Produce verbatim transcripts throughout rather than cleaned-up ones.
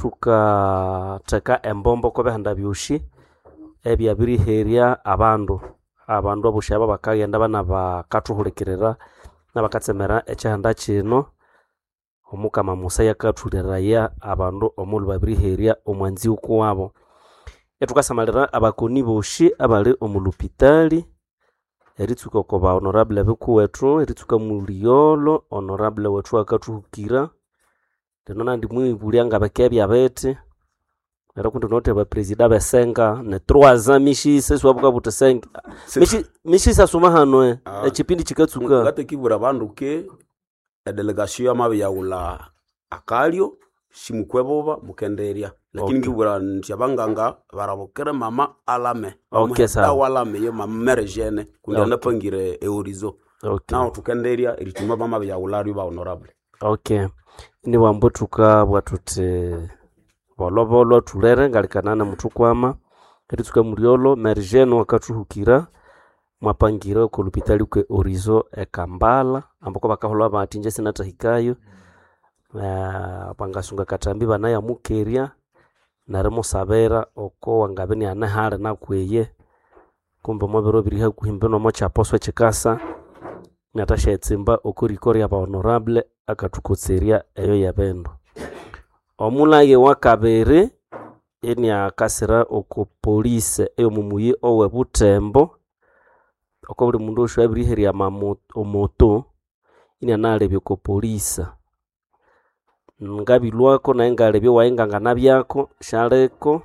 Thukatheka embombo oko bihanda byosi ebyabiriherya abandu. Abandu abosi abo bakaghenda banabakathuhulikirira nabakatsemera ekyihanda kino. Omukama Musa yakathuleraya abandu omughulhu babiriherya omwanzi wukuwabo. Ithukasamalira abakoni bosi abali omu lhupitali, eritsuka oko ba honorable bikuwethu, eritsuka Muligholo honorable wethu owakathuhukira. Lino nandi mwibulya ngabikebya bithi, neryo kundi thunawithe aba president abesenga ni trois ans mishisa isiwabukabugha wuthi senge mishi mishisa suma hano eh, ekyipindi kyikatsuka. Ngatekibwira abandu ke edelegation yamabiriyaghulha akalyo simukwe buba mukenderya lakini Okay. ngibwira nti abanganga barabukire mama alame Okay, sawa. dawa alame yo mama mere jene kundi Okay. anapangire eorizo Okay. naho thukenderya erithuma bamabiriyaghulharyo ba honorable. Okay. Inibwambu thukabugha thuthi bolhobolho thulere ngalikana namuthukwama eritsuka Mulyolo Mary Jane wakathuhukira mwapangire oko lupitali kwe Orizo e Kampala ambu bakaholwa bathi inje sinathahikayo. Eh, bangasunga katambi banayamukerya nerimusabira oko wangabya iniane hali nakweye kumbe omo biro biri hakuhi mbino omo kyaposwa ekyikasa inathasyayitsimba oko riko rya ba honorable akathukotserya eyo yebindu. Omulage wakabiri iniakasira oko police eyomo muyi owe Butembo oko buli mundu osi owabiriherya amamo omoto inianalebya oko police. Ngabilwako nayi ngalebya owayi nganganabyako syaliko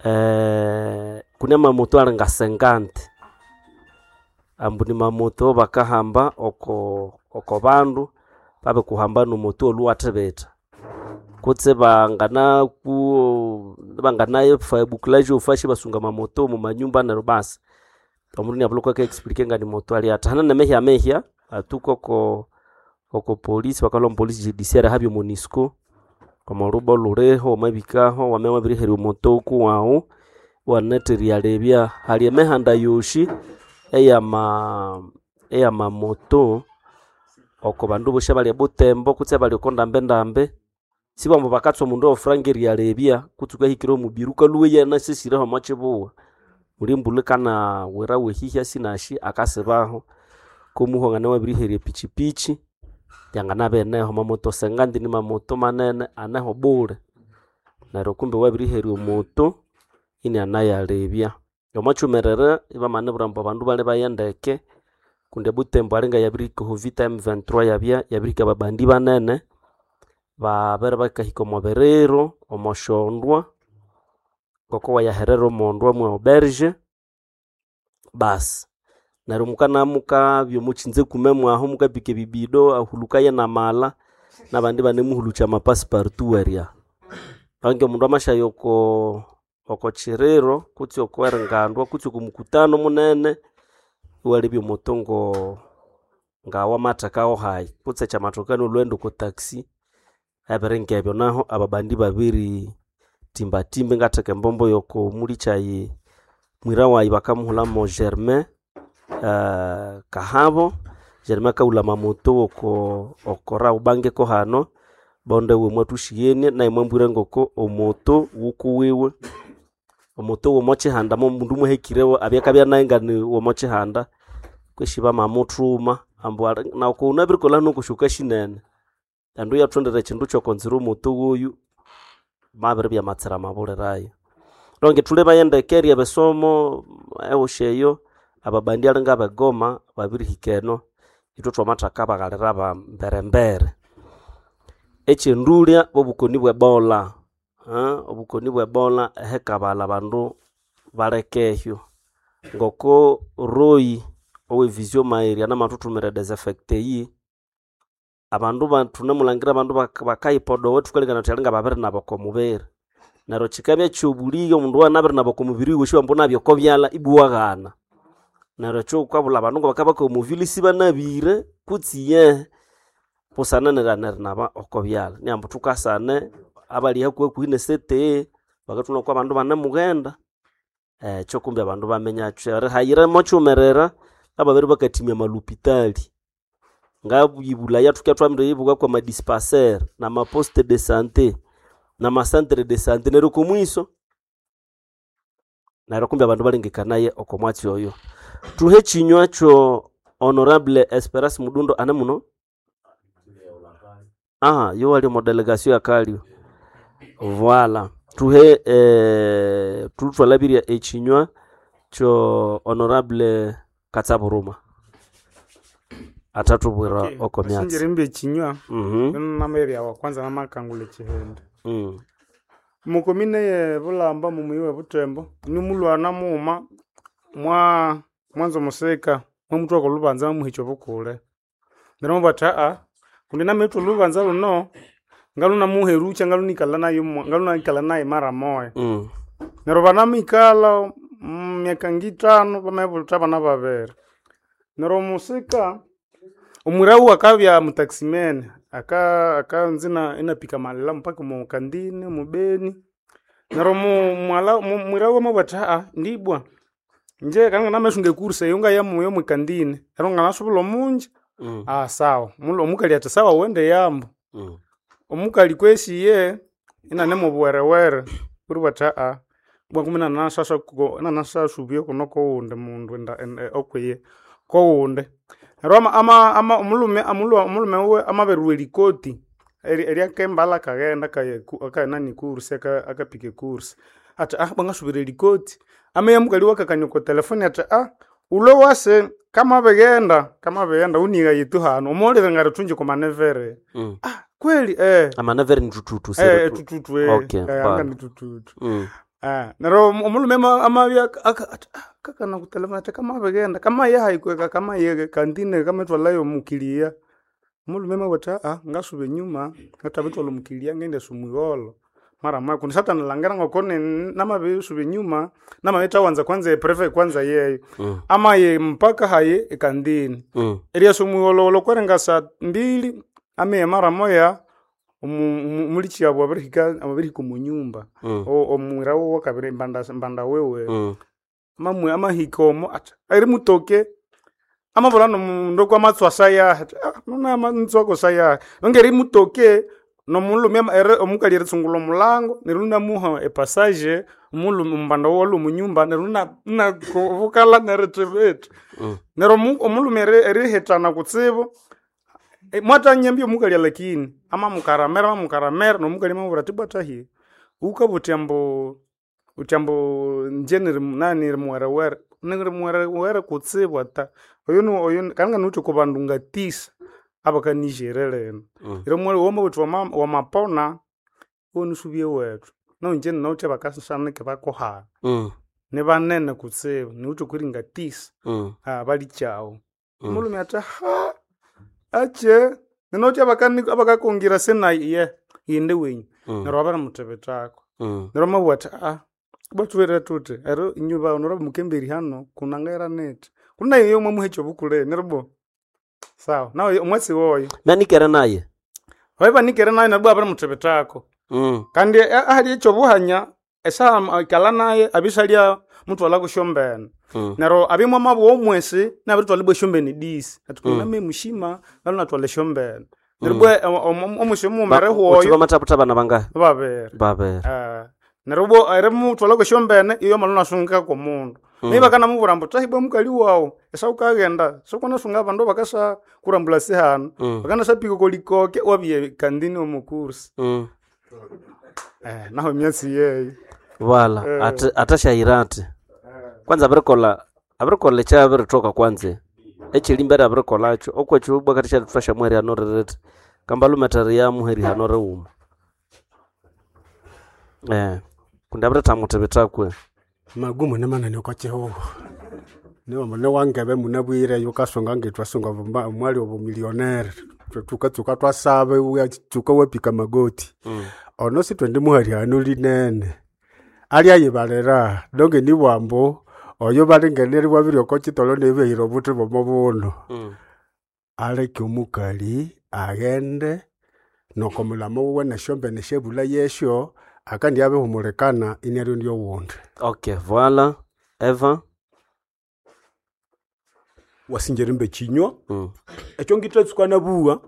eh, kune amamoto ali nga cinquante ambu ni mamoto bakahamba oko oko bandu babikuhamba nomoto olhuwathibitha kutse banganaku banganafa bouclage ofashi basunga amamoto omu manyumba neryo basi omundu iniabulha kwaka explique ngani moto ali athi. Hane nemehya mehya atuka oko oko polisi bakalhwa omu polisi judiciaire habya Monisco omo lhubo lhuliho wamabikaho wamabya wabiriherya omoto kuwaghu iwanatha eryalebya. Hali emihanda yosi eyama eyamamoto oko bandu bosi abali e Butembo kutse abali oko ndambi ndambi sibambu bakatswa omundu owefuranga eryalebya kutse wukahikira omubiri wukalhwa iyanasesireho omo kibugho. Muli embulha ikanawira wehihya sinasi akasibaho komuhwa angana wabiriherya epichipichi yanganabya ineho. Amamoto cinquante ni mamoto manene aneho bule neryo kumbe wabiriherya omoto inianayalebya. Omwa kyumerere ibamanibwira ambu abandu balebaye ndeke kundi e Butembo alinga yabirihika oho vita M twenty-three yabya yabirihika ababandi banene babere bakahika omo biriro, omo syondwa ngoko wayaherera omondwa mwe auberge basi neryo mukana mukabya omo kyinze kume mwahu mukapika ebibido ahulukaye namala nabandi ibanemuhulukya ama passepartout erya. Bangi omundu amasyaya oko oko kiriro kutse oko eringandu kutse oko mukutano munene iwalebya omoto ngo ngawamathekawo hayi kutse kyamathokana olhughenda oko taxi ebiri ngebyo naho ababandi babiri timbatimba ingatheka embombo yoko mulikyayi mwira wayi bakamuhulha mo Germain eh, Kahabo. Germain akahulha amamoto woko oko Rawbank ko hano bonde iwe mwathusighenie naye mwambwira ngoko omoto wukuwiwe omoto womo kyihanda mo mundu mwahikirewo abya akabya naye ngani womo kyihanda kwesi bamamuthuma ambu ali naku wunabirikolha noko shinene endo iyathondera ekyindu kyokonzira omoto woyu mabiribya amatsira amabulirayo. Donc thulebaye ndeke eryebisomo ehusi eyo ababandi alinga abegoma babirihika eno ithwe thwamathaka baghalira ba mbere mbere. Ekyendulya bwobukoni bwe Ebola eh, obukoni bwe Ebola ehikabalha abandu balekehyo ngoko Roy owe Vision Mairi anamathuthumira desinfecte eyi abandu ba thunemulhangira abandu baka bakayipodowa thukalengekania thuthi alinga babirinaba oko mubiri neryo kyikabya kyobulighe omundu owanabirinaba oko mubiri wiwe wasi ambu nabya oko byalha ibwa iwaghana. Neryo ekyo wukabulha abandu ngabakabya omuvili isibanabire kutse iyehe busana nerighana erinaba oko byalha. Niambu thukasane abali hakuhi hakuhi ne C T E bakathunga ngoko abandu banemughenda ekyo kumbe abandu baminyakyo. Erihayira mokyighumerera ababere bakathimya amalhupitali ngabibulaya thukya thwamiriyibuka kwa madispensaire nama poste de sante. Na macentre de santé neryo komwiso neryo kumbe abandu balengekanaye oko mwatsi oyo. Tuhe chinywa kyo Honorable Esperance Mudundo ane muno. Aha, yo wali mu delegation ya Kalio. Voilà. Tuhe eh, tulutwalabiria echinywa kyo Honorable Katsaburuma. Atatubwira Okay, oko myatsi. Sinjiri mbe ekinywa Mhm. namabya wa kwanza namakangula ekihindi. Mm. Mukomine ye Bulamba mumuyi we Butembo nimulwana mughuma mwa mwanza omusika mwamuthwaka olubanza mwamuhikya obukule. Neryo mwabugha athi aa kundi namirithwa olubanza luno ngalunamuherukya ngalunikala nayu ngalunayikalha nayu mara moya. Mm. Neryo banamikalha mm, myaka ngithanu bamabulitha abana babiri. Neryo omusika omwirawu akabya mutaximene aka akanza ina- inapika amalela mpaka omu kandini omu Beni. Neryo omu- mwala mu- mwirawu amabugha athi aa ndibwa inje kandi namasunga ekursa eyo ngayamu yomu kandini neryo nganasubulha omunja. Mm. Ah sawa Omulhu- omukali athi sawa wende yambu. Mm. Omukali kwesi iye inane mubuwerewere kuri athi aa bwa kumi inanasasa inanasasubya kuno kowundi mundu enda- enda- okwiye kowundi. Neryo ama ama ama omulhume amulhu omulhume wuwe amabirilhwa erikoti eri- eryakembala akaghenda akaya akayanani ekursi aka- akapika ekursi athi ah bwangasubira erikoti. Ameya mukali wakakania okwa telefoni athi ah wulhwe wase kamabighenda kamabighenda wunighaye tu hanu wamawulire ngarithungi kwamanevere. Mm. Ah kweli eh. Amanevere nitututu Eh, seretu. tututu eh. Okay, Eh, bana. anga ni tututu. Mm. Ah, neryo omu- omulhume ama- amabya aka- ati, ah, kakana kutelefoni ati kamabighenda kamayahayikweka kamayege kantine kamatwalayo omukiliya. Omulhume amabugha athi ah ngasuba enyuma ngathabithwalha omukiliya ngendasa omwigholho mara moya kundi sathanilhangira ngoko ni- namabirisuba enyuma namabithawanza kwanza epreve kwanza yeyo. Mm. Amaye mpaka hayi ekandini. Mm. Eryasa omwigholhogholho kweringa saa mbili ameya mara moya omu- omu- omulikyabu abirihika abirihika omu nyumba. Mm. O- omwira wuwe kabiri mbanda mbanda wiwe. Mm. Mamwe amahika omo athi erimutoke amabulha nomundu okwamatswa sayaha athi ah nuna ntswako sayaha nonge erimutoke nomulhume ama- eri- omukali eritsungulha omulango neryo inamuha epassage omulhume omumbanda wuwe alwe omunyumba neryo ina- inakubukalha nerithibitha. Mm. Neryo omu- omulhume eri- erihithana kutsibu eh, mwatanyambya omukali lakini amamukaramera amamukaramera nomukali amamubwira athi bwa thahi wukabugha uthi ambu uthi ambu inje niri nani niri muwerewere niri muwerewere kutsibu ata oyo ni- oyo ni- kalinga niwithe oko bandu ngatisa abakanijere lino. Mm. Neryo omwali wamabugha uthi wama wamapona iwanisubya ewethu nawu inje ninawithe abakasanike bakuhana Mm. nibanene kutsibu niwithe okwiringa tisa Mm. ah balikyawu. Mm. Omulhume athi ha ache ninawithe abakani abakakongira senayi iye ghende wenyu. Mm. Neryo babirimuthibithako. Mm. Neryo amabugha athi ah bwathuwere thuthi ero inywe ba honorable mukemberi hano kunangaira nithi kunayo iyo mwamuha ekyobukule neryo bo sawa nawe omwatsi woyo. Nanikere naye. Babibanikere nayo neryo bwa babirimuthibithako. Mm. Kandi a- ahali ekyobuhanya esaha ikalha naye abisalya muthwalha kusyombene. Mm. Neryo abya mwamabugha omwesi inabirithwalha ibwa esyombene disi athi Mm. kuname mushima ngalhunathwalha esyombene. Neryo Mm. bwa omu- omwesi omughuma Ba- uthi erihwayo bamathabutha abana bangahi? babiri. Babiri. Ah, neryo bwo erimuthwalha kwesyombene iyo amalhu inasungika kwomundu. Mm. Naye bakanamubwira ambu thahibwa mukali wawu esawukaghenda sokanasunga abandu bakasa kurambula sihanu Mm. bakanasapika okolikoke wabya kandini omu kursi. Mm. Eh, naho emyatsi yeyo. Wala Eh. ate atashayira ati kwanza abirikolha abirikolha ekyabiritoka kwanza ekyelimbere abirikolhakyo okwekyo bwakati syathuthwasya muherihano ririti kambalumethere ya muherihano righuma eh kundi abirithamuthibithakwe Magumu ni manene okwa kihugho niwamba niwangebe munabwire yukasunga ngithwasunga vumba- omwali obumillionaire tukatsuka twasaba iwatsuka wapika magoti mm. ono sithwendi linene alyayibalira donge nibwambu oyo balingeneri wabiri oko kitolo nebyahira obuthi bwomo buno Mm. aleke omukali aghende noko mulamo wuwe nesyombene syebula yesyo akandi abihumulikana iniaryo ndyowundi. Okay, voila Eva. Wasinja mbe chinywa mm. ekyo ngithatsuka nabuwa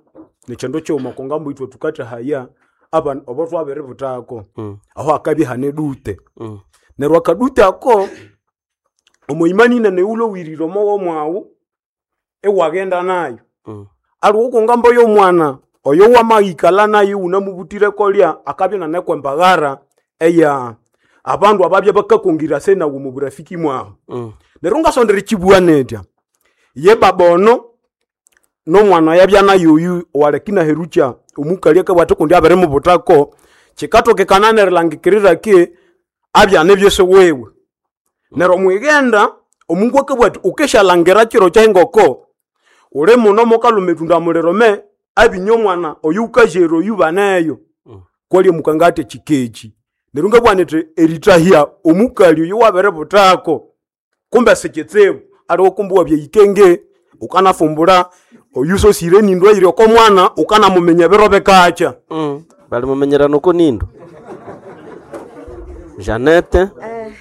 nekyando kyuma kongambo ithwe tukathahaya abana obo twabiributako Mm. aho akabya hane dute Mm. neryo akadute ako omoimani nene ulowirire omo womwawu iwaghenda nayo Mm. aliwo kungambo y'omwana oyo wamahikala nayo unamubutire kolya akabya nanekwa embaghara eya abandu ababya bakakongira se nawu mu burafiki mwawu Mm. neryo ngasondera ekibugha netya ye baba ono nomwana yabya nayo oyu owalekina herukya omukali akabugha kundi abirimubutako kikatokekana nerilangikirira ki abyana ebyesi wiwe neryo mwighenda omungu akabugha ati ukesyalangira kiro kyengoko uli muno mukaluma etunda muliro me abinya omwana oyu wukazere oyu baneyo Mm. kwali omukanga ati kikeki neryo ngabugha nithi eritahya omukali oyu wabiributako kumbe sikitsibu aliwo kumbe wabya ikenge ukanafumbula oyu sosire enindu eyiri oko mwana ukanamuminya ebiro bikakya Mm. Bali mumenyerana uko nindo Janete Eh,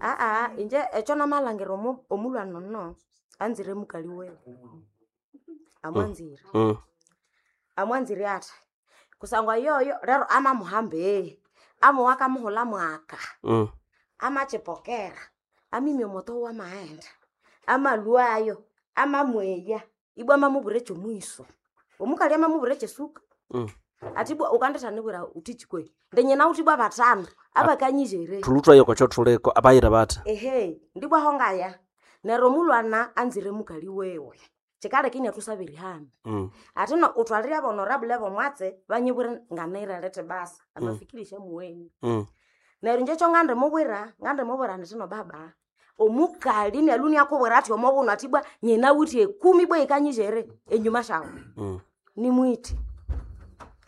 aa inje ekyo namalhangira omu- omulhwana ono anzire mukali wewe amwanzire mm. amwanzire athi kusangwa yoyo lero amamuhamba ee amuwa akamuhula mwaka Mm. amachipokera amimya omoto wamaghenda amalwayo amamweya ibwa amamubwira ekyomwiso omukali amamubwira ekyesuka Mm. ati ibwa ukandithanibwira uthichi kwe ndinyina uthi ibwa batano abakanyizere Thulutwayo kwakyo thuliko abayira bathi ehe ndibwaho ngaya neryo omulwana anzire mukali wewe kikaleka inathusabira ihamba mm. ati no uthwalire abonorable bomwatsi banyibwire nganirerete basa amafikirisha muweni Mm. neryo inje ekyo ngandimubwira ngandimubwira ndithi no baba omukali nelu niakubwira athi omobuno athi bwa nyina wuthi ekumi bwa yikanyizere enyuma syawu Mm. nimwite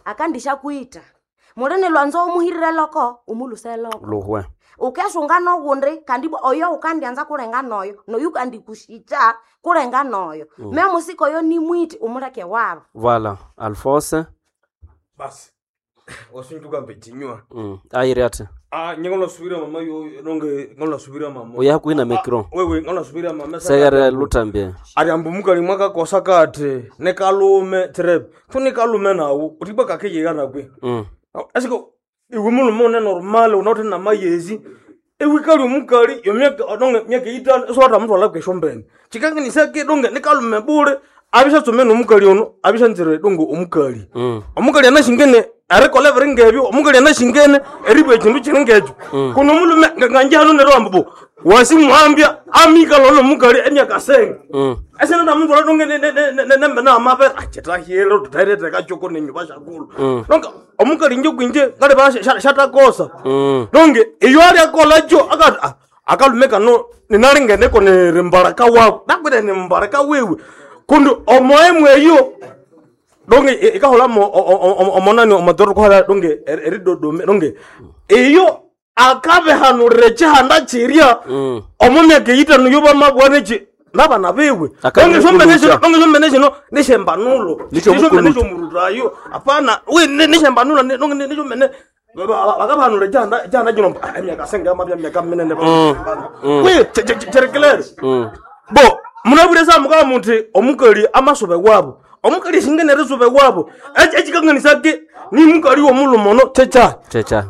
akandishakwita mulini lwanzo umuhirire loko umuluse loko Luhwe ukesunga nogundi kandi bwa oyo ukandianza kulenga noyo noyu kandikushikya kulenga noyo mm. memusiko oyo nimwite umuleke wabo Voilà Alphonse basi wasunjuka mbechinywa mm. ayiri athi ah nyengolasubira mama yo nonge ngolasubira mama uya hakuhi micro wewe ngolasubira mama segere lutambie ari ambu mukali mwakakosa kati nikalume tsirebe tu nikalume nawu utibwa kakeyeka nakwe mm. asiko iwe mulume une normal unauthi namayezi iwikali omukali yomyaka donge myaka itano isowatha mutwala kweshombene chikanginisake donge nikalume bule abishatsome nomukali ono abishanzire donge omukali Mm. omukali anashingene erikola ebiri ngebyo omukali anashingene eribwa ekindu kiri ngekyo kuno omulume nganjihano neryo ambu wasimuhambya amikala ono omukali emyaka senge Mm. esinanamutwala donge nembe namapera achitahile tutaireteka choko nenyuba shakulu donge omukali inje kwinje ngaleba shatakosa Mm. donge iyo aliakola cho akati "Ah, akalume kano ninalingeneko niri mbaraka wako nakwire ni mbaraka wiwe kundi omoemwe eyo donge i- ikahola mo- o- o- o- omonani omatoro kohola donge eri- eridodome donge iyo akabihanurira ekihanda kirya Mm. omo myaka eyitano yo bamabwana eki nabana biwe Akabiri donge shombene shino kulucha. donge shombene shino nishembanulo Nicho Nishombene mukulucha. shomurutayo apana we nishembanulo donge nishombene bakabihanura ekihanda ekihanda kino mbu, "Ah, emyaka senge amabya myaka minene we kyerekelere Mm. bo munabwire samukaa muthi omukali amasuba wabo omukali shingene erisuba wabo ekikanganisa ke ni mukali womulume ono kyekyahi Checha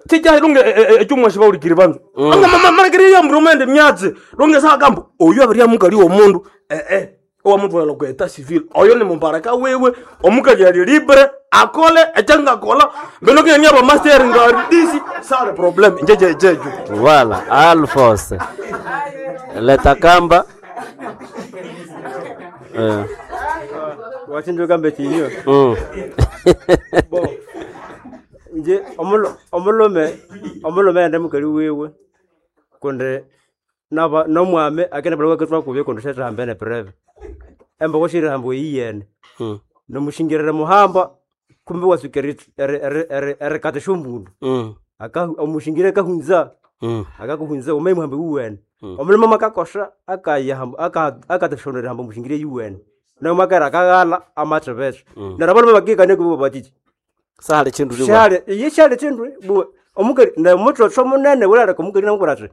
kyekyahi donge ekyomwasi baulikiri banzu angamalekere yambura omwende myatsi donge sakamba oyu abirya mukali womundu ee owamutwala ku eta civil oyo ni mumbaraka wiwe omukali ali libre akole ekyangakola mbeno kenya bamasteri ngari disi sale problem njejejejo Voilà Alphonse leta kamba eh. Wachinjuka mbechinywa mm. bo nje omulo- omulume omulume ende mukali wiwe kundi naba nomwami akene bala waketwa kubye kundi shetahamba ene preve emboko shirihamba eyiyene Mm. nomushingirire muhamba kumbe wasuka erikata shomundu Mm. Aka- omushingire akahunza Mm. akakuhunza umaye muhambe wuwene omulimo makakosha akayahamba akatashonera hamba mushingire yuwene nomakera akaghala amathebethe neryo abalume bakikane kubo batiki Sahali chindu liwa shali iye shali chindu buwe omukali ne muthotho munene wulaleka omukali namubwira athi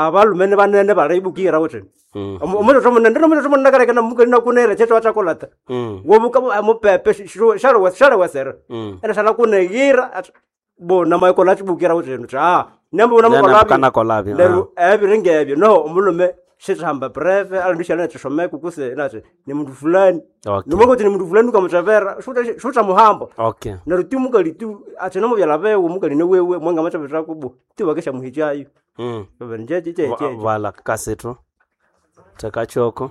Abalume ni banene baraibukira wuthi. Mm. Omutoto munene nomutoto munene kaleka na mukali nakunere checho achakolata. Mm. Wobuka mupepe shalo shalo wesera. Mm. Ena shala kunegira ati bo namaikola chibukira wuthi ah nyambo Nena namukola mukanakolabyo, Neru ebiringa ebyo no omulume shithamba breve alandishala nachisomeka kuse nachi ni mundu fulani. Okay. Nomongoti ni mundu fulani ukamutavera shuta shuta muhambo. Okay. Neryo ti mukali tu ati nomubyala bewe mukali ni wewe mwenga machavira kubo ti wakesha muhichayo. Mm. Nje je Va- je. Vala kasito. Tekachoko.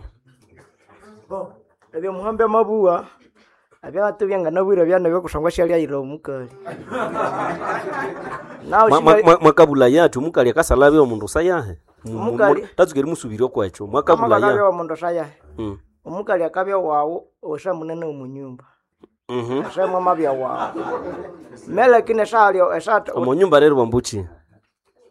Bo, ebyo muhambe mabuwa abyatu byanganabwire byana byokusangwa shalyaira omukali. Nawe Mwa- mwa- shibali mwa- Mwakabula yathu mukali akasalabya omundu sayahe. Mu- mu- Omukali. Tatsuka erimusubirya okwekyo. Mwakabula akabya ya. wa mundu sayahe. Mm. Omukali akabya wawu osha munene omunyumba. Mhm. Osha mwamabya wawu. Melekine eshalyo eshat Omu nyumba rero bambuchi.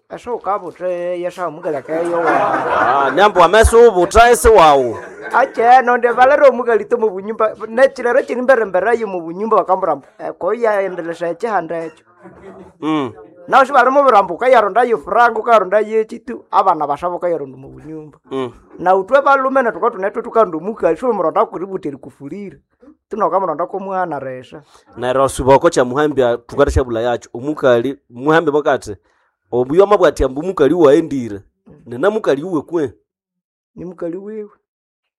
esha ukabuthe yesha omukali akayo wawu. Ah, nyambo ameso ubuta ese wawu. Ache nonde valero omukali to mubunyumba nechilero chiri mberembere yo mubunyumba bakambura koya endelesha ekihanda ekyo. Mm. Naho shibalimo birambo ukayaronda yo franga ukayaronda yechitu abana bashaba ukayaronda mubunyumba. Mm. Na utwe balume netuka tunetwe tukanda omukali shiumuronda kuributeri kufulira. Tunokamuronda komwana resha. Neryo suboko kya muhambya tukata shabula yacho omukali muhambe makati obuyo amabwati ambu mukali waendire nena mukali uwe kwe Ni mukali wiwe.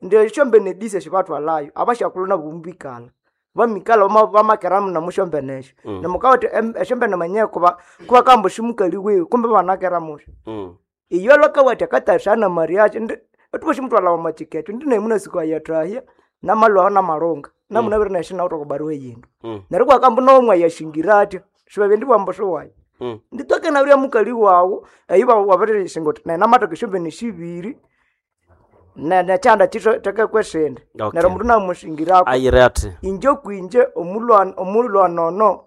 Ndio shombe nedise shibatwalayo abashakuluna nabo mubikala. Bamikala bama- bamakeramu namushombenesho. Mm. Namukawati eshombene manye kuba kuba kambo shimukali wiwe kumbe banakera musho. mm. Iyo lwakawati akatashana mariachi ndi atuwa shimutwala wamachikecho ndi naimuna siku ayatahya namalwaho namalunga namunabire neshina utokubaruwe yindu. Mm. Neryo kwakambu nomwe yashingira atya shibabye ndibwambo shiwayo. Mm. Nditoke nabirya mukali wawu eyi wabirishinga uthi nenamatoka eshombene shibiri ne- nekyanda kitho tekekwesindi Okay. neryo omundu namushingirako ayire ati inje kwinje omulwana omulwana ono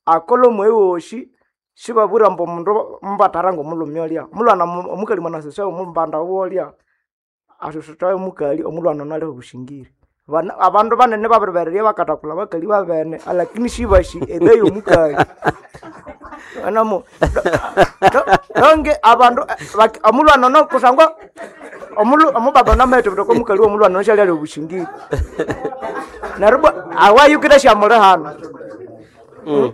akola omweyi wosi sibabwira mbu omundu mubatara ngomulhume olya omulwana mu- omukali mwanasosya omumbanda wolya asosotayo omukali omulwana ono aliho obushingiri Bana- abandu banene babiribererya bakathakula abakali babene alakini sibashi ebeyi omukali enomo donge abandu eh, bak- omulwana ono kusangwa omulu- omubaba nametebeteka omukali womulwana ono syali ali obushingiri neryo bwa awayukire syamuli hano mm.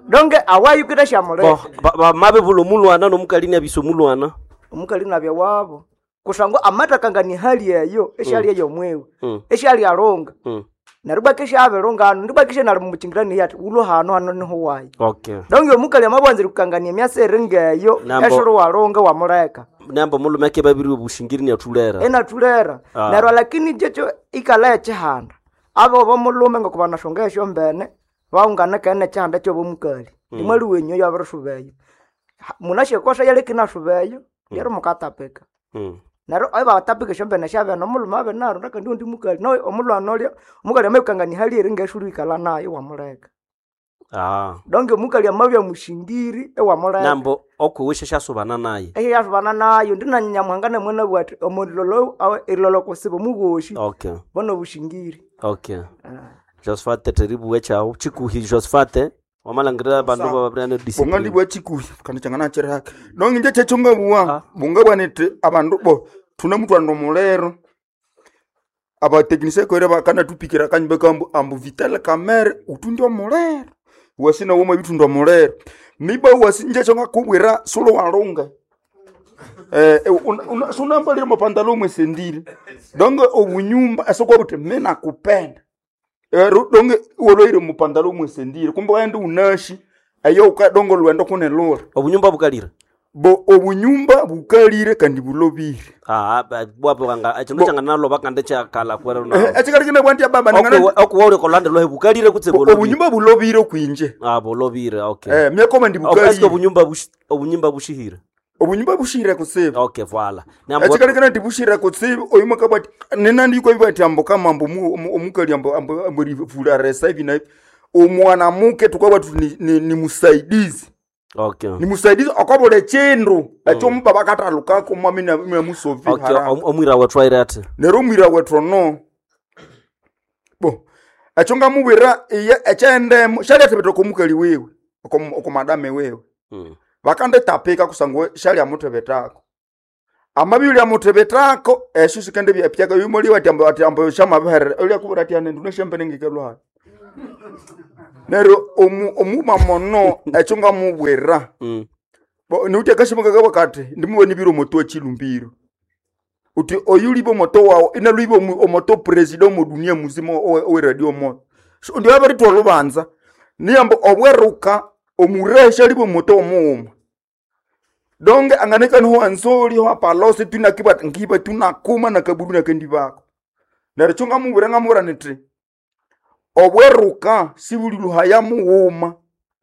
donge awayukire syamuli bo bamabibula omulwana nomukali niabisa omulwana omukali nabya wabo kusangwa amatakangania hali eyo esyali eyomwewe Mm. esyali alunga mm. neryo bwa kesyabilunga hano ndibwa kesya nali mumuchingirani ati ulo hano hano niho wayi okay donge omukali amabwanzire kukangania emyasi eri ngeyo Nambo- esiri walunga wamuleka namba omulume ake babiri obushingiri niathulera enathulera Ah. neryo lakini kyekyo ikala ekihanda abo bomulume ngokubanashonga esyombene baungana kene ekihanda kyobomukali imwali wenyu yabirisubeyo munasyekosa yalekinasubeyo lero mukatapika mm. neryo ebatapika esyombene syabene omulume abe narunda kandi undi mukali no omulwana olya omukali amabikangania hali eri ngesulu ikala nayo wamuleka ah. donge omukali amabya mushingiri ewamuleka nambo okwiwe syasyasubana naye eyo yasubana nayo ndinanyamuhanga namwana bwati omulolo erilolo kusiba omugoshi okay bona obushingiri okay josephat teribuwe kyawu chikuhi josephat wamalangirira bandu bababirane bonga discipline ndibwa chikuhi kandi changana chirihaka donge nje chechongabuwa bunga bwanete abandu bo tunamutwanda omulero abatekinisia kwere bakanatupikira kanyumba kambu ambu vitale kamere utunde omulero wasina womwe bitunda omulero miba wasi nje chongakubwira sulo walunga eh eh, sunambalire mapandalo omwe sendile donge obunyumba esokwa buti mina kupenda Eh, ru- donge woloire mupandalo omwe sendile kumbe waende unashi eyo uka donge lwendo kunelura obunyumba bukalire bo obunyumba bukalire kandi bulobire ah bwabwanga ekindu kyanganaloba kandi kyakala kwera ekikalikine bwanti baba ningana- okuwa uli kolande lwahe bukalire kutse Bo- bulobire obunyumba bulobire kwinje ah bulobire okay eh myakoma ndi Oh, eske bukalire obunyumba bushi- obunyumba bushihire obunyumba bushire kutsibu okay voila Nambo- ekikalikine ndi bushire kutsibu oyu mwakabati ninandiko ibati ambo kama ambo mu- omu- omukali ambo ambo ambo rivula resa hivi na hivi omwana muke tukabati ni, ni, ni musaidizi okay ni musaidizi akabula echindu ekyo mubaba katalukako mwami namusovi okay om- omwira wethu aire ati neryo omwira wethu ono bo ekyo ngamubwira iye ekyendemo syalyathebeteka omukali wiwe oko- oko madame wiwe Mm. bakanditapika kusangwa syalyamutebetako Amabi muthibitako esyo sikende byapyaka yumoli ati ambo ati ambo shamabiherera ulya kubura ati anendu neshembene ngikelwa. Neryo omu omuma mono ekyo ngamubwira. Mm. Bo niuti akashimoka kabo kati ndimuwe nibiro moto chilumbiro. Uti oyulibo moto wawo inaluibo omoto president mu dunia muzima owe owe radio moto. So ndio abari twolubanza. Niyambo obweruka omuresha libo moto omuuma. Donge anganeka niho anzoli ho apalose tunakiba ngiba tunakuma nakabudu nakendi bako. Neryo kyo ngamubwira ngamubwira niti obweruka sibuli luhaya muwuma.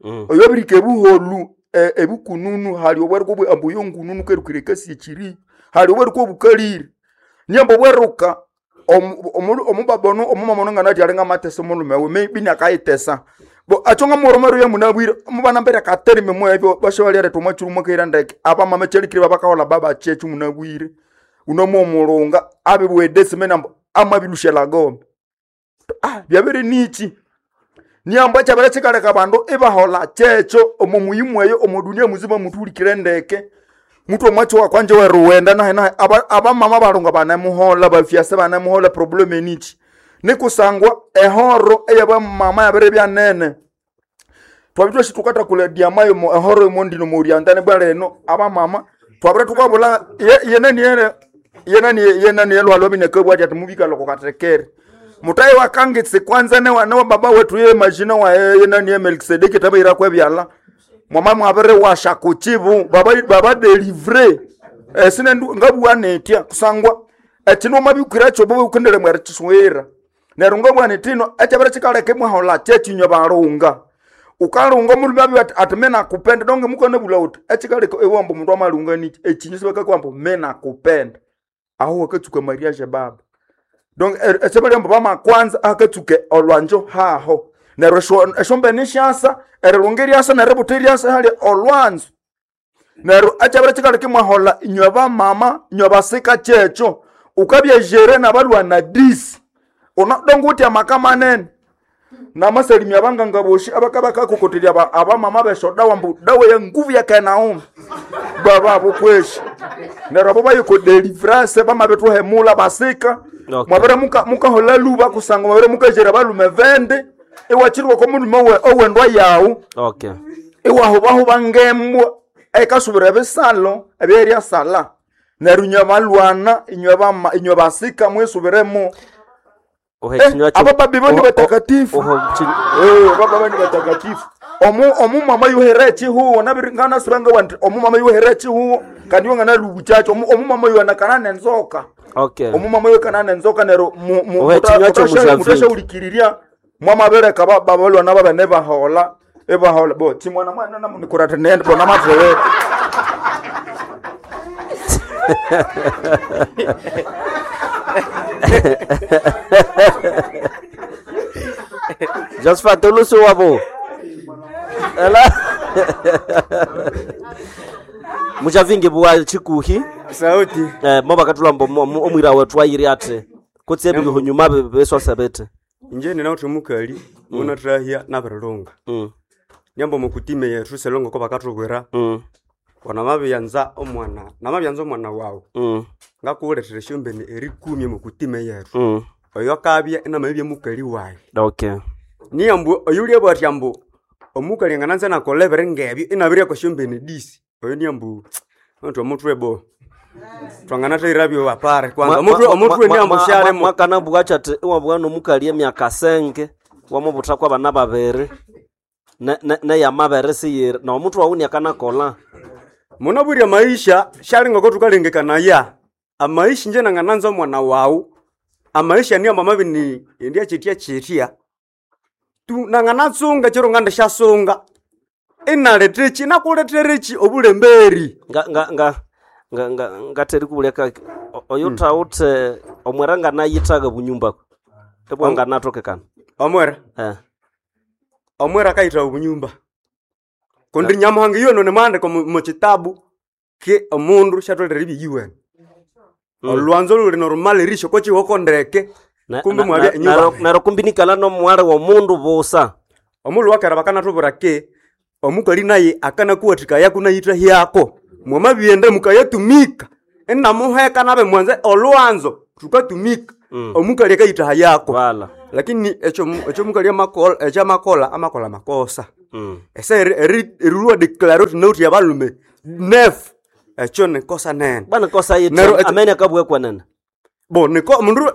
Mm. Oyo birike buholu e- ebukununu hali obweruka obwe ambu yongununu kerukire kasi ekiri hali obweruka obukalire nyambo obweruka omu- omu- omubabono omumamono ngana ati alinga matesa omulume we maybe nakayitesa bo acho ngamuromero ya munabwire mubana mbere katerime mwebyo basho bali aretwa mwachuru mwakaira ndeke abamama chelikire babakahola baba chechu munabwire unomo omulunga abibwedesi menambo amabilushela gombe ah byabere nichi niamba chabere chikaleka bandu ibahola checho omo muyimu eyo omo dunia muzima mutulikire ndeke mutu omwacho wakwanje weruwenda nahe nahe aba- abamama balunga banemuhola bafyase banemuhola problem enichi nikusangwa ehoro eyabamama yabere byanene twabitwa shitukata diamayo mo ehoro imondino muriandane bwa leno abamama twabere tukabula ye- yenani yene yenani yenani yelwalwa binekabwa ati mubika loko katekere mutayi wakangitse kwanza ne wana wa baba wetu ye majina wa yenani ye Melkisedeki tabaira kwebyala mwama mwabere washa kuchibu baba baba delivre esine ngabuwa netya kusangwa etino mabikira cho bobo ukendele mwere chiswera neryo ngabwa netino echabere chikaleke mwahola chechinywa balunga ukalunga mulume abi ati ati mena kupenda donge mukane bula uti echikaleka ewambo mundu amalunga nichi echinyu sibakakwambo mena kupenda aho wakatsuka mariage baba donc esebaliambo bamakwanza akatsuke olwanjo haho neryo esho- eshombene shasa erilunga eryasa neributa eryasa hali olwanzo neryo ekyabere kikaleka imwahola inywe bamama inywe basika kyekyo ukabyejere nabalwana disi unadonga uti amaka manene namasalimia abanganga boshi abakabakakokotelya aba- abamama beshodawa mbu dawa ya nguvu ya kenaumi bababo kweshi neryo abo bayiko deliverance bamabethuhemula basika Okay. mwabere muka- mukahola luba kusanga mwabere mukajera balume vende iwachirwa ko mulume owe- owendwa yawu Okay. iwahubahuba ngembwa ekasubira ebisalo ebyerya sala neryo inywe balwana inywe bama inywe basika mwisubiremo Ohe Eh, chinywa cho- abababi bo ni oho- batakatifu. oho chin- Eh, baba ni batakatifu omu omumama yuhere chihuwo nabiringana sibanga wanti omumama yuhere chihuwo kandi wangana lubuchacho omu omumama yuanakana nenzoka Okay. omumama yuekana nenzoka nero mu- mu- Ohe, muta- chinywa cho mutasha- mushavingi. mutashaulikiriria mwamabereka ba- babalwana babene bahola ebahola bo chimwana mwana namunikurata nende bona matwewe Josephat olusu wabo. Ela. Mushavingi bwa chikuhi. Sauti. Eh mo bakatulamba omwira wetu ayiri ati kutse ebiho nyuma beswasebete. Inje ninawuthe omukali munathahya nabirilunga. Mm. Nyambo mukutime yethu selongo ko bakathubwira Mm. wanamabyanza omwana namabyanza omwana wawu Mm. ngakuwulethera esyombene erikumi mukutime yethu Mm. oyo akabya inamabya mukali wayi Okay. niyambu oyulyabwa athi ambu omukali angananza nakolha ebiri ngebyo inabiryako esyombene disi oyo niyambu onti omutwe bo twanganathahirabyo apare kwanza omutwe omutwe niyambu syalimo mwakana bwacha ati iwabwa nomukali emyaka senge wamubutha kwa bana babiri ne- ne- neyamabere siyiri na omutwe wawu niakanakola munabwire amaisha syali ngoko thukalengekanaya amaisha inje nangananza omwana wawu amaisha niyambu amabini endya kyitya kyitya tu nanganatsunga kyiro ngandisyasunga inaletheki nakulethereki obulemberi nga nga nga nga nga ngatheri kubuleka oyo thawuthe omwera nganayithaga bunyumba ebwa nganathokekana omwera eh omwera akayitha obunyumba kundi nyamuhanga iyo nimwandika mukitabu ke omundu syatholere ibiyiwene olwanzo luli norumalirisyo kokiwoko ndeke Ne- kumbi na- mwabya na- enyumba nero- nero kumbi nikala nomwari womundu busa omulhu wakera bakanathubwira ke omukali naye akanakuwathikaya kunayithahyako mwamabyenda mukayatumika Inamuheka nabe mwanze olwanzo tukatumika. Mm. Omukali akayitaha yako. Wala. Lakini ekyo ekyo mukali amakola ekyo amakola amakola makosa. Mm. Ese erilwa declare uti nauti abalume nef ekyo nikosa nene. Bwana kosa yitu Nero ekyo- amene akabwekwa nene. Bo niko mundu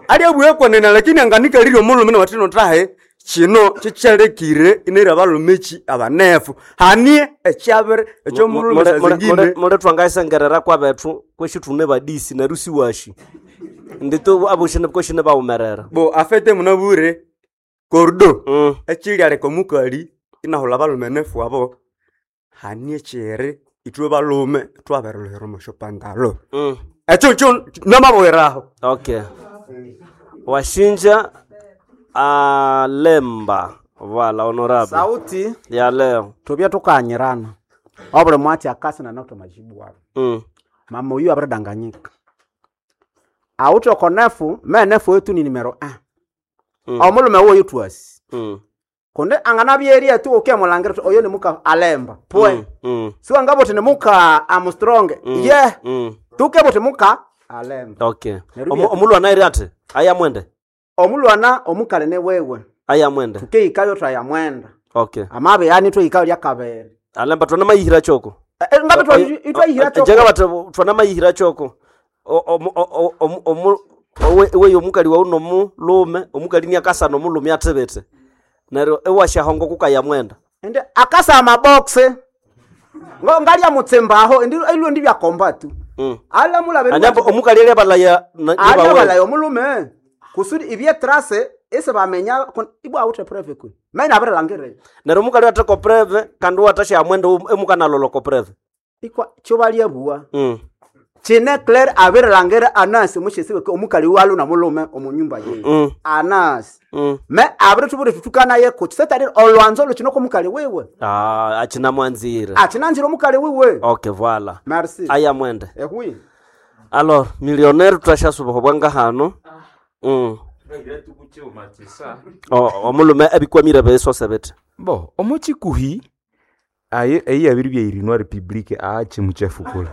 ali abwekwa nene lakini anganikalire omulume nawatino tahe kino kikyalekire ineri abalume ki abanefu hanie ekyabere ekyomulume sazingine Mule twangaisengerera kwa bethu kweshi tune badisi neryo siwashi. Ndito aboshine koshine bawumerera. Bo afete munabure kordo Mm. ekilyaleka omukali inahulha abalume nefu abo hanie kyere ithwe balume twaberilhuhira omusyopandalo Mm. ekyo kyo namabweraho. Okay. Washinja alemba. Voilà, honorable. Sauti Ya leo. tubya tukanyirana obuli mwatsi akasi nanauta majibu wabu. Mm. Mama oyu abiridanganyika awuthi okonefu menefu wetu ni nimero a Mm. omulume woyu twasi Mm. kundi anganabyeria tu ukemulangira uthi oyo nimuka alemba pwe Mm. Mm. siwangabuthi nimuka Armstrong Mm. ye Mm. tukebuthi muka alemba. Okay. Neryo Omu- bya- Omulwana eri ati aya mwende. Omulwana omukali ni wewe Aya mwende. tukeikayo twayamwenda Okay. amabe yani tweikayo lyakabere. Alemba twona mayihira choko. Ngabe itwayihira choko. Jenga bati twona mayihira choko. O- omu- o- o- omu- owe owe omukali wawu nomulume omukali ni akasa nomulume athibete. Neryo ewashahongo kukaya mwenda. Ende akasa amaboxe ngo ngalya mutsembaho indi ilwo ndi byakomba tu. Mm. Ala mulabe Anyambo omukali eri abalaya na- ala nibawe. balayo omulume kusudi ibye trace ese bamenya kun- ibwa awuthe preve kwe mena abirelangire. Neryo omukali atheko preve kandi wathasha mwenda emukanalolo ko preve. Ikwa kyobalya bua Mm. chine claire abirelangire anasi mushesiwe omukali walu na mulume omunyumba ye. Mm. Anasi Mm. me abirithubure tutukana ye kuchi setali olwanzo luchino komukali wiwe. Ah, achina mwanzire. Achinanzire omukali wiwe. Okay, voilà. Merci. Aya mwende. Ehui. Alors, millionaire twashasuba bwanga hano. Mm. O omulume ebikwamire besose bete. Bo omuchikuhi aye eyi abiri byairinwa republic aache muchafu kula.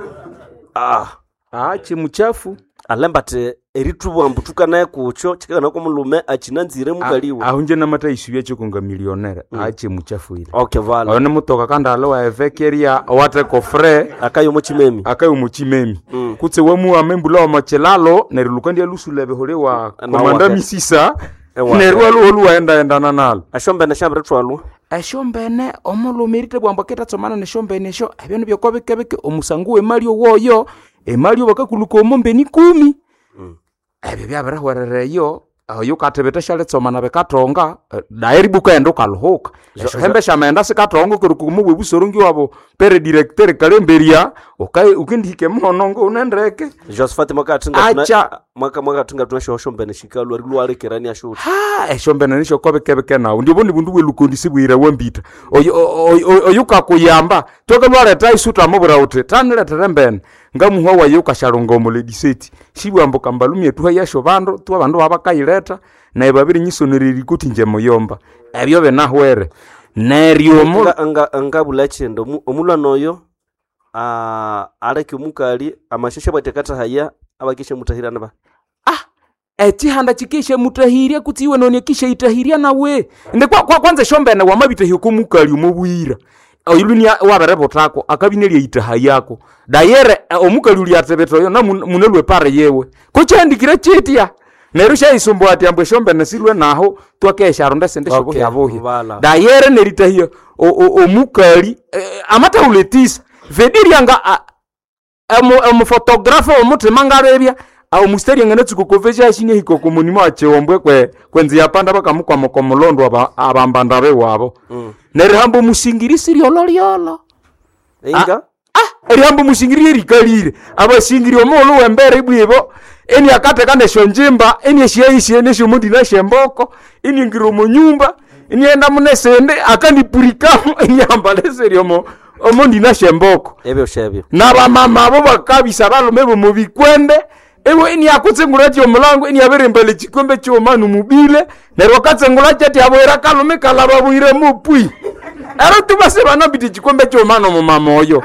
Ah, aache muchafu. Alemba ati eritubwa mbu tukanaye kucho chikana ko mulume achinanzire mukaliwe. Aho nje namata isubya chokonga millionaire aache muchafu ile. Okay, voilà. Oyo nimutoka kandi alo wa evekeria owate kofre akayo muchimemi. Akayo muchimemi. Mm. Kutse wamuwa membula wa machilalo neryo lukandi alusula behole wa Na komanda wake. misisa Ewa. neryo aluho luwaendaendana nalo. Ashombene shambire twalwa. Esyombene omulhume erithabwa aketatsomana nesyombene esyo ebyo nibyoko bikebike omusango w'emali owoyo emali bakakulhuka omo mbeni ikumi. Ebyo byabirihwerera eyo oyo ukathibitha syalitsomana bikathonga eh, dairi bukaghenda ukalhuka esyohembe syamaghenda sikathonga kuruka omo bwebusorongi wabo pere directeur kalemberia uka- ukendihika emuhono ngounendeke. Josephat mwakathinga tuna Acha. mwaka mwakathinga tunashohombene shikalwa rilwalekerani ashuti. Ha, esyombene nisyokobekebeke nawu ndiobo nibundu bwelukondi sibwira wambita oyo oyo- oyo- oyo ukakuyamba tokelwaletha isuta amubwira uthi tanilethere embene ngamuhwa wayo ukashalunga omulediseti sibwambu kambalumye tuha yasyo bandu tu abandu babakayiletha naye babirinyisonera erikoti nje muyomba ebyo binahwere neryo omu Nga nga ngabula chendo omu- omulwana oyo ah aleke omukali amasheshe bwate katahaya abakishe mutahirana ba. Ekihanda kikishe mutahirya kutsi iwe noni ekishaitahirya nawe ende kwa, kwa, kwanza esyombene wamabitahya okomukali omobwira oyuluni wabiributhako akabina itaha yako dayere eh, omukali uli athibitha oyo namunalwe pare yewe kukyahandikire kyitya neryo syayisumbua ati ambu esyombene silwe naho twakesharunda esindi Okay, syobuhyabuhya vala. dayere neritahya o- o- omukali eh, amatahula etisa vediryanga omufotografa omuthima ngalebya omustari anganatsuka okofesi ahika okomunimo akyiwombwe kwe kwenzi yapanda bakamukwama okomulondo aba- abambanda bewabo. Mm. Nerihamba omusingiri siryololyolo. Inga? Ah, erihamba omusingiri erikalire abasingiri omughulhu wembere ibwibo eni akatheka nesyonjimba eni esyaisye nesyomundi nasyemboko eniingira omunyumba enighenda munesindi akanipurikamu eniambala esiri omo omundi nasyemboko. Ebyo shebyo. Nabamama abo bakabisa balume bomubikwembe iwe iniakutsengula ati omulango iniabirimbala ekikwembe kighuma numubile neryo akatsengula kyati abwira kalume kalaba bwire mupwi ero tubase banambita ekikwembe kighuma nomumama oyo.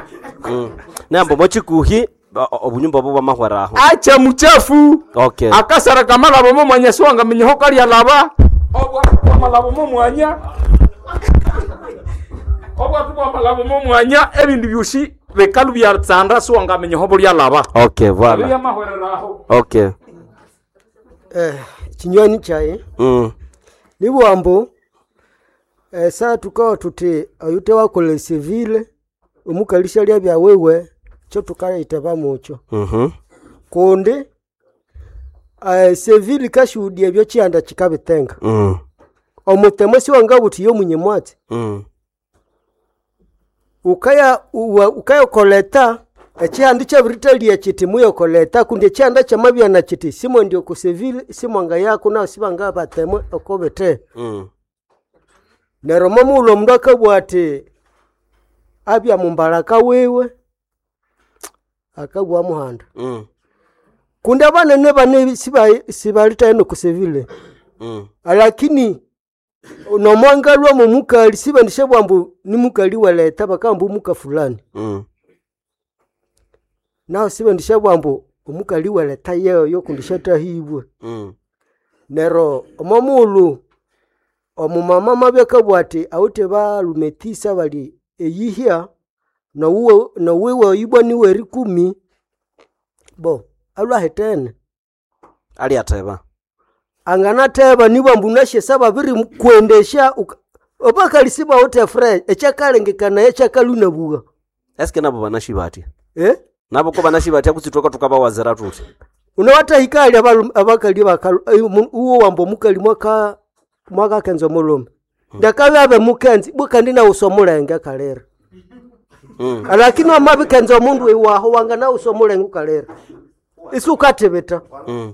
Mm. Nambo mochikuhi Obunyumba obo bwamahwera aho. Acha muchafu. Okay. Akasara kamalabo mo mwanya siwangaminya ho kalya laba. Obwatu bwamalabo mo mwanya. Obwatu bwamalabo mo mwanya ebindu byosi bekalu byatsanda siwangaminya ho bulya laba. Okay, voilà. Byamahwerera aho. Okay. Eh, kinywani kyayi Mm. nibwambu eh, saa tukawa tuti oyute wakola esivile omukalisha lya byawewe kyo tukaiteba mukyo Mhm. kundi eh, sevile kashuhudia ebyo kyihanda kikabitenga Mm. omutemo siwangabuthi yomunye mwatsi Mm. ukaya uwa- ukayokoleta ekihanda kyabiritalia kiti muyokoleta kundi ekihanda kyamabyana kiti simwendi oku sevile simwanga yako nawo sibanga batemwe okobete Mm. neryo momughulhu omundu akabugha ati abya mumbalaka wiwe akabugha muhanda Mm. kundi abanene bane siba- sibalitayo nokusevile Mm. lakini nomwangalwa momukali sibandisha ambu ni mukali weleta bakamba omuka fulani Mm. naho sibandisha bwambu omukali weleta yeyo kundi shatahibwe Mm. nero omomughulhu omumama mabya akabugha ati awithe balume tisa bali eyihya nowuwe nowiwe oyibwa niwe erikumi bo alwahitene Aliatheba. anganatheba nibwa ambu nasyesa babirikwendesya uka- obakali sibawithe fresh ekyakalengekana ekyakalunabugha Eske nabo banashibatya? Eh? Nabo ko banashibatya kutsi twaka tukabawazira tuti. unawatahika ali abalu- abakali bakalu eh, mu- uwo wamba omukali mwaka mwakakenza omulhume ndakabya abe mukenzi bwe kandi nawusa omulenge akalira Mm. lakini wamabikenza omundu iwaho wanga nawusa omulenge ukalira isi ukathibita Mm.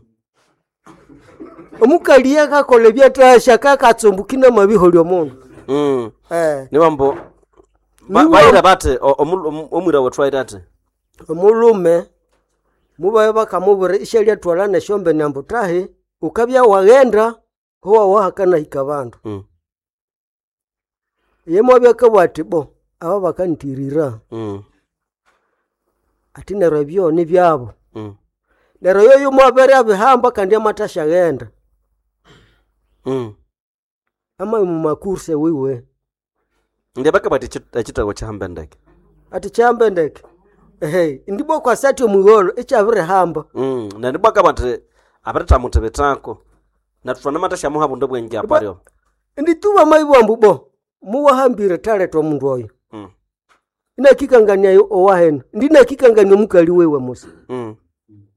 omukali yakakola ebyathasya kakatsumbukina amabiholya omundu Mm. Eh. Niwambo ba- Niwa- bayira bathi o- omu- omu- omwira wethu ayira athi omulume mubaye bakamubwira isyalyatwala nesyombene ambu tahi ukabya waghenda howa wahakanahika bandu Mm. ye mwabya akabugha ati bo aba bakantirira Mm. ati neryo ebyo nibyabo Mm. neryo yoyo mwabere abihamba kandi amathasyaghenda Mm. ama mumakurse wiwe Ndiye bakabati ekitabo kyahambe ndeke. ati kyambe ndeke ehe ndibwa kwasati omugholo ekyabirihamba Mm. Na ndibwa kabati abirithamuthibithako. Na thwana mathasyamuha bundu bwenge aparyo. ndituba maibwambu bo muwahambire taletwa omundu oyo Mm. inakikangania owahena ndinakikangania omukali wiwe musa Mm.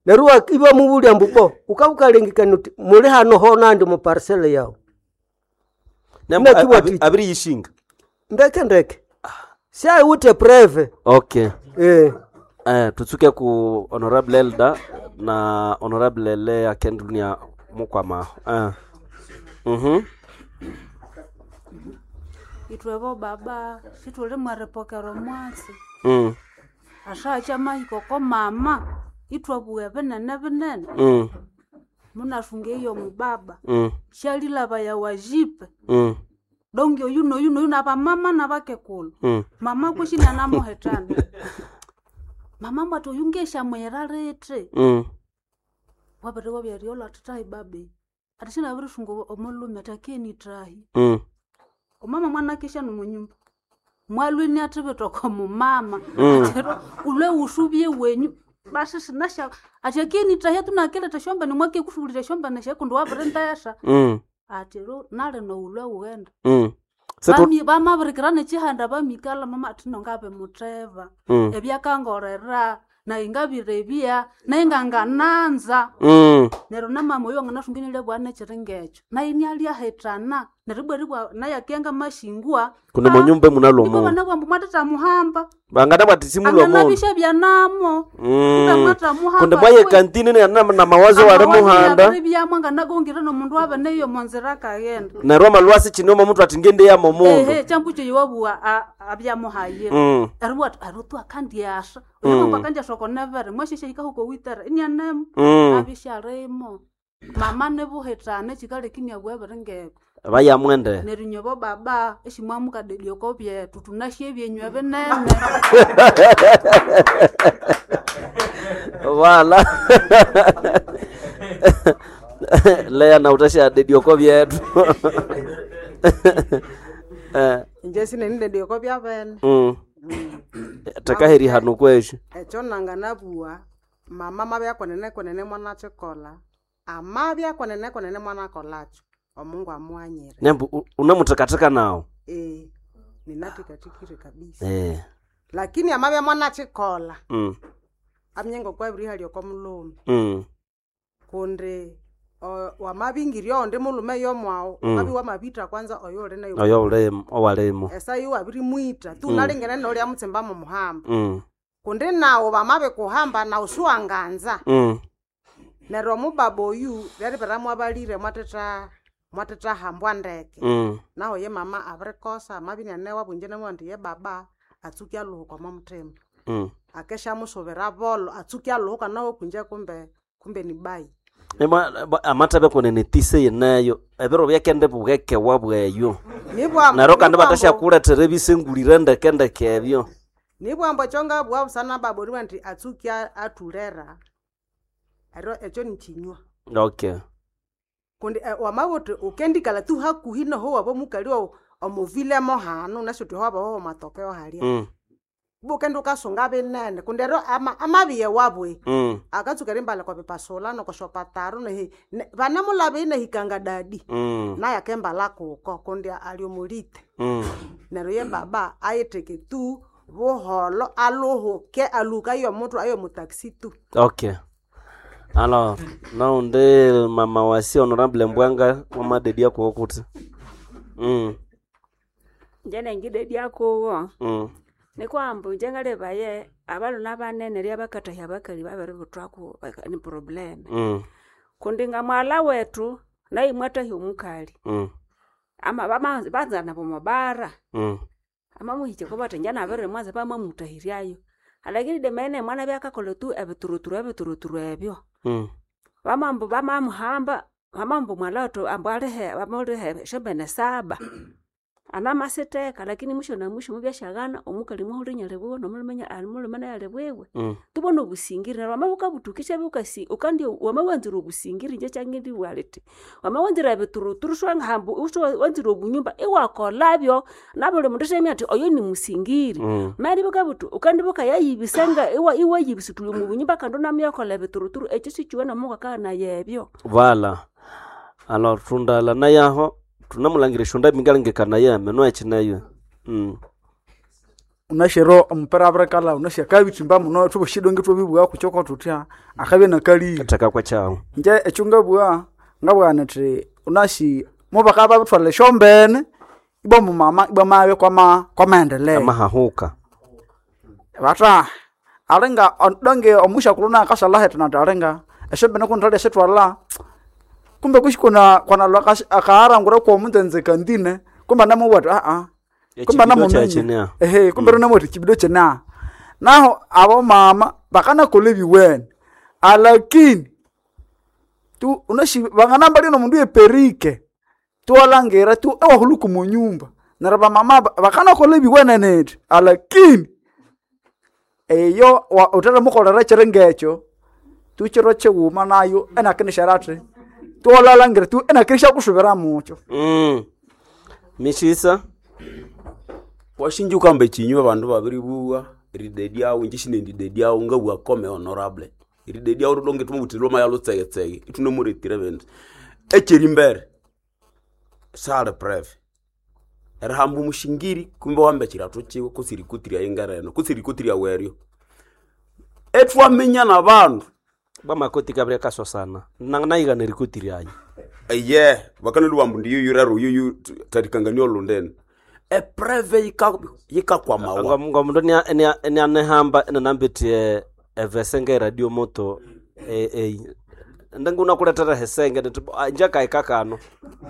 neryo wa- ibamubulya mbu bo ukabukalengekania uti muli hano honandi mu parcel yawu Nembo Inakiwa ati- abiriyishinga. ndeke ndeke syaiwithe preve Okay. eh Eh, tutsuke ku honorable elder na honorable Lea Kendlunia mukwamaho. Eh. Mhm. Itwebo baba situli mwaripokera omwatsi Mm. ashacha mahiko ko mama itwabuwa binene binene Mm. munasunga eyo mubaba Mm. shalilaba ya wajipe Mm. dongi oyu noyu noyu nabamama nabakekulu Mm. mama kwishina namuhetana mama mbwati oyu ngeshamwera liti Mm. wabere wabyariola atitahi babe ati shinabirisunga omulume atakeni tahi Mm. omama mwana kesha nomunyumba mwalwini athibitoko mumama Mm. atero ule usubye wenyu basi sinasha atyakeni tahi tunakeleta shombani mwake kushulira shombani shakundi wabirintesha Mm. atero nalino ulwe ughenda Mm. Setu Bami- bamabirikira nechihanda bamikala mama athino ngabe mutheva Mm. ebyakangorera naye ngabirebya naye ngangananza Mm. neryo namama oyo wanganasunga inyalyabugha nekyiri ngekyo naye inyalyahethana neryo ibwa ribwa naye akenga mashingwa Kuno munyumba munalo ibwa omundu. bana bwambu mwathethamuhamba Bangana bati simulo omundu. anganabisha byanamo Mm. mwathamuhamba Kundi mwaye kantini na na mawazo wari muhanda. byamwe nganagongire nomundu wabeneyo monzira akaghenda Neryo amalwasi chinoma omuntu ati ngende yamo mundu. ehe kyambu yiwabugha abyamuhayire Mm. eribwa ati arutu akandyasha Mm. oyomambu akandyasha okonevere mwasheshe hikahuko witera inyanemo Mm. abisharimo mama nibuhethana ekikaleka iniabugha ebiringebyo Bayamwende. neryo inywebo baba eshimwamukadedia oko byethu tunasye ebyenywe binene Wala. Leya na utashadedia byetu. Eh. Inje sinenidedioko byabene Mm. Takaheri hano kwesho. ekyo nanganabugha mama mabya kwenene kwenene mwanakyikolha amabya kwenene kwenene mwanakolhakyo omungu amughanyire Nembu unamutakataka nawo. eh ninathikathikire kabisa Eh. lakini amabya mwanakyikolha Mm. amye ngokwabirihalya oko mulhume Mm. kundi o- wamabingirya ondi mulhume yomwawu Mm. wukabya wamabitha kwanza oyo uli nayo Oyo ulimo owalimo. esa iwe wabirimwitha tu Mm. unalingene nolya mutsimba mumuhamba Mm. kundi nawu bamabikuhamba nawu siwanganza Mm. neryo omubaba oyu lyaribera mwabalire mwathetha mwathetha ndeke Mm. naho ye mama abirikosa amabya inanewa bwinje namubwira indi ye baba atsuke alhuhuka omwa muthima Mm. akesyamusubira bolho atsuke alhuhuka naho kwinje kumbe kumbe ni bayi Ema amatebe kwenene tise yeneyo ebiro byakende bugekewa bweyo. Nibwa- Neryo kandi nibwambu- batashakuletera ebisengulire ndeke ndeke ebyo. nibwambu ekyo ngabugha busana baba oribugha nti atsuke athulera eryo ekyo nikinywa Okay. kundi eh, wamabugha uthi ukendikalha tu hakuhi noho waba omukali wawu omuvilemo hanu nasi uthi howabaho matokeo halya Mm. bukendi ukasunga binene kundi eryo ama- amabiye wabwe Mm. akatsuka erimbala kwa bipasula nokoshopataro nehi ne- vanemulava inahikanga dadi Mm. naye akembala kuko kundi ali omulite Mm. neryo ye baba ayitheke tu buholo aluhuke aluhuka ayo muthu ayo mutaxi tu Okay. Alors, naundi mama wasi honorable Mbwanga wamadedia kuwo kuti. Mm. Nje nengidedia kuwo Mm. nikwambu nje ngalebaye abaluna banene lya bakatahya abakali babiributhwaku baka- ni problem Mm. kundi nga mwala wethu naye mwatahya omukali Mm. ama bama- banzana bomobara Mm. amamuhikya bathi nje nabirimwanza bamamutahiryayo alakini demene mwana byakakolha tu ebituruturu ebituruturu ebyo Mm. bamambu bamamuhamba bamambu mwala wethu ambu alihe bamulihe esyombene saba anamasitheka lakini mwisho na mwisho mubyasyaghana omukali muhulhu inalibwiwe nomulhume nya- omulhume naye alibwiwe Mm. tubona obusingiri neryo wamabya wukabuthukisya bukasi ukandi wamawanzira obusingiri inje kyangindibugha lithi wamawanzira ebituruturu siwangahamba wanzira obunyumba iwakolhabyo nabuli mundu isyaminya athi oyo ni musingiri Mm. mali bukabuthi ukandi bukayayibisa nga iwa- iwayibisa thuli omu bunyumba kandi unamyakolha ebituruturu ekyo sikiwene Mungu akaghana ebyo Vala. Alors tundala nayaho tunamulangira shonda mingalengekana yeme no echineyo. Mm. unashero omupira abirikalha unasi akabithimba muno thubashidonge thwabibugha kukyoko thuthya akabya nakalire Theka kwekyawu. nje ekyo ngabugha ngabugha nithi unasi mubakabya babithwalha esyombene ibwa mumama ibwa mabya kwama kwamaendeleo Amahahuka. batha alinga donge omushakulhu nakashalha hethina athi alinga esyombene kunithalya syithwalha kumbe kushi kuna kwanalwa akaharangura kwomunzenze kandine kumbe anamubwa athi aa kumbe Echibido anamuminya kyakyinia. ehe kumbe mm. ati chibido kyina naho abo mama bakanakola ebiwene alakini tu unashi banganamba lino mundu yeperike tuwalangira tu ewahuluku munyumba neryo bamama ba- bakanakola ebiwene neti alakini eyo wa- utherimukolera kyiri ngekyo tu kiro kighuma nayo enakinishera athi tuwalalangira tu enakinishakusubira mukyo Mm. Mishisa. Washinja ukamba ekinywa abandu babiribugha eridedyawu inje sinendidedyawu ngabugha kome honorable eridedyawu ridonge thumubuthi lwamaya lutsegetsege ithunemuretire bindu ekyerimbere sali preve erihamba omushingiri kumbe wahamba ekiratho kiwe kutse erikoti ryayi ngereno kutse erikoti ryawu eryo ethwaminya nabandu Bwamakoti kabiri kasosana. Nanganayighana erikoti ryayi. eye bakanalwa ambu ndiyuyu rero uyuyu tarikangania olundene epreve yika- yikakwamawa Ngomundu nianehamba enanambithi evese ngeradio moto ndingunakuletera hesenge niti njakaika kano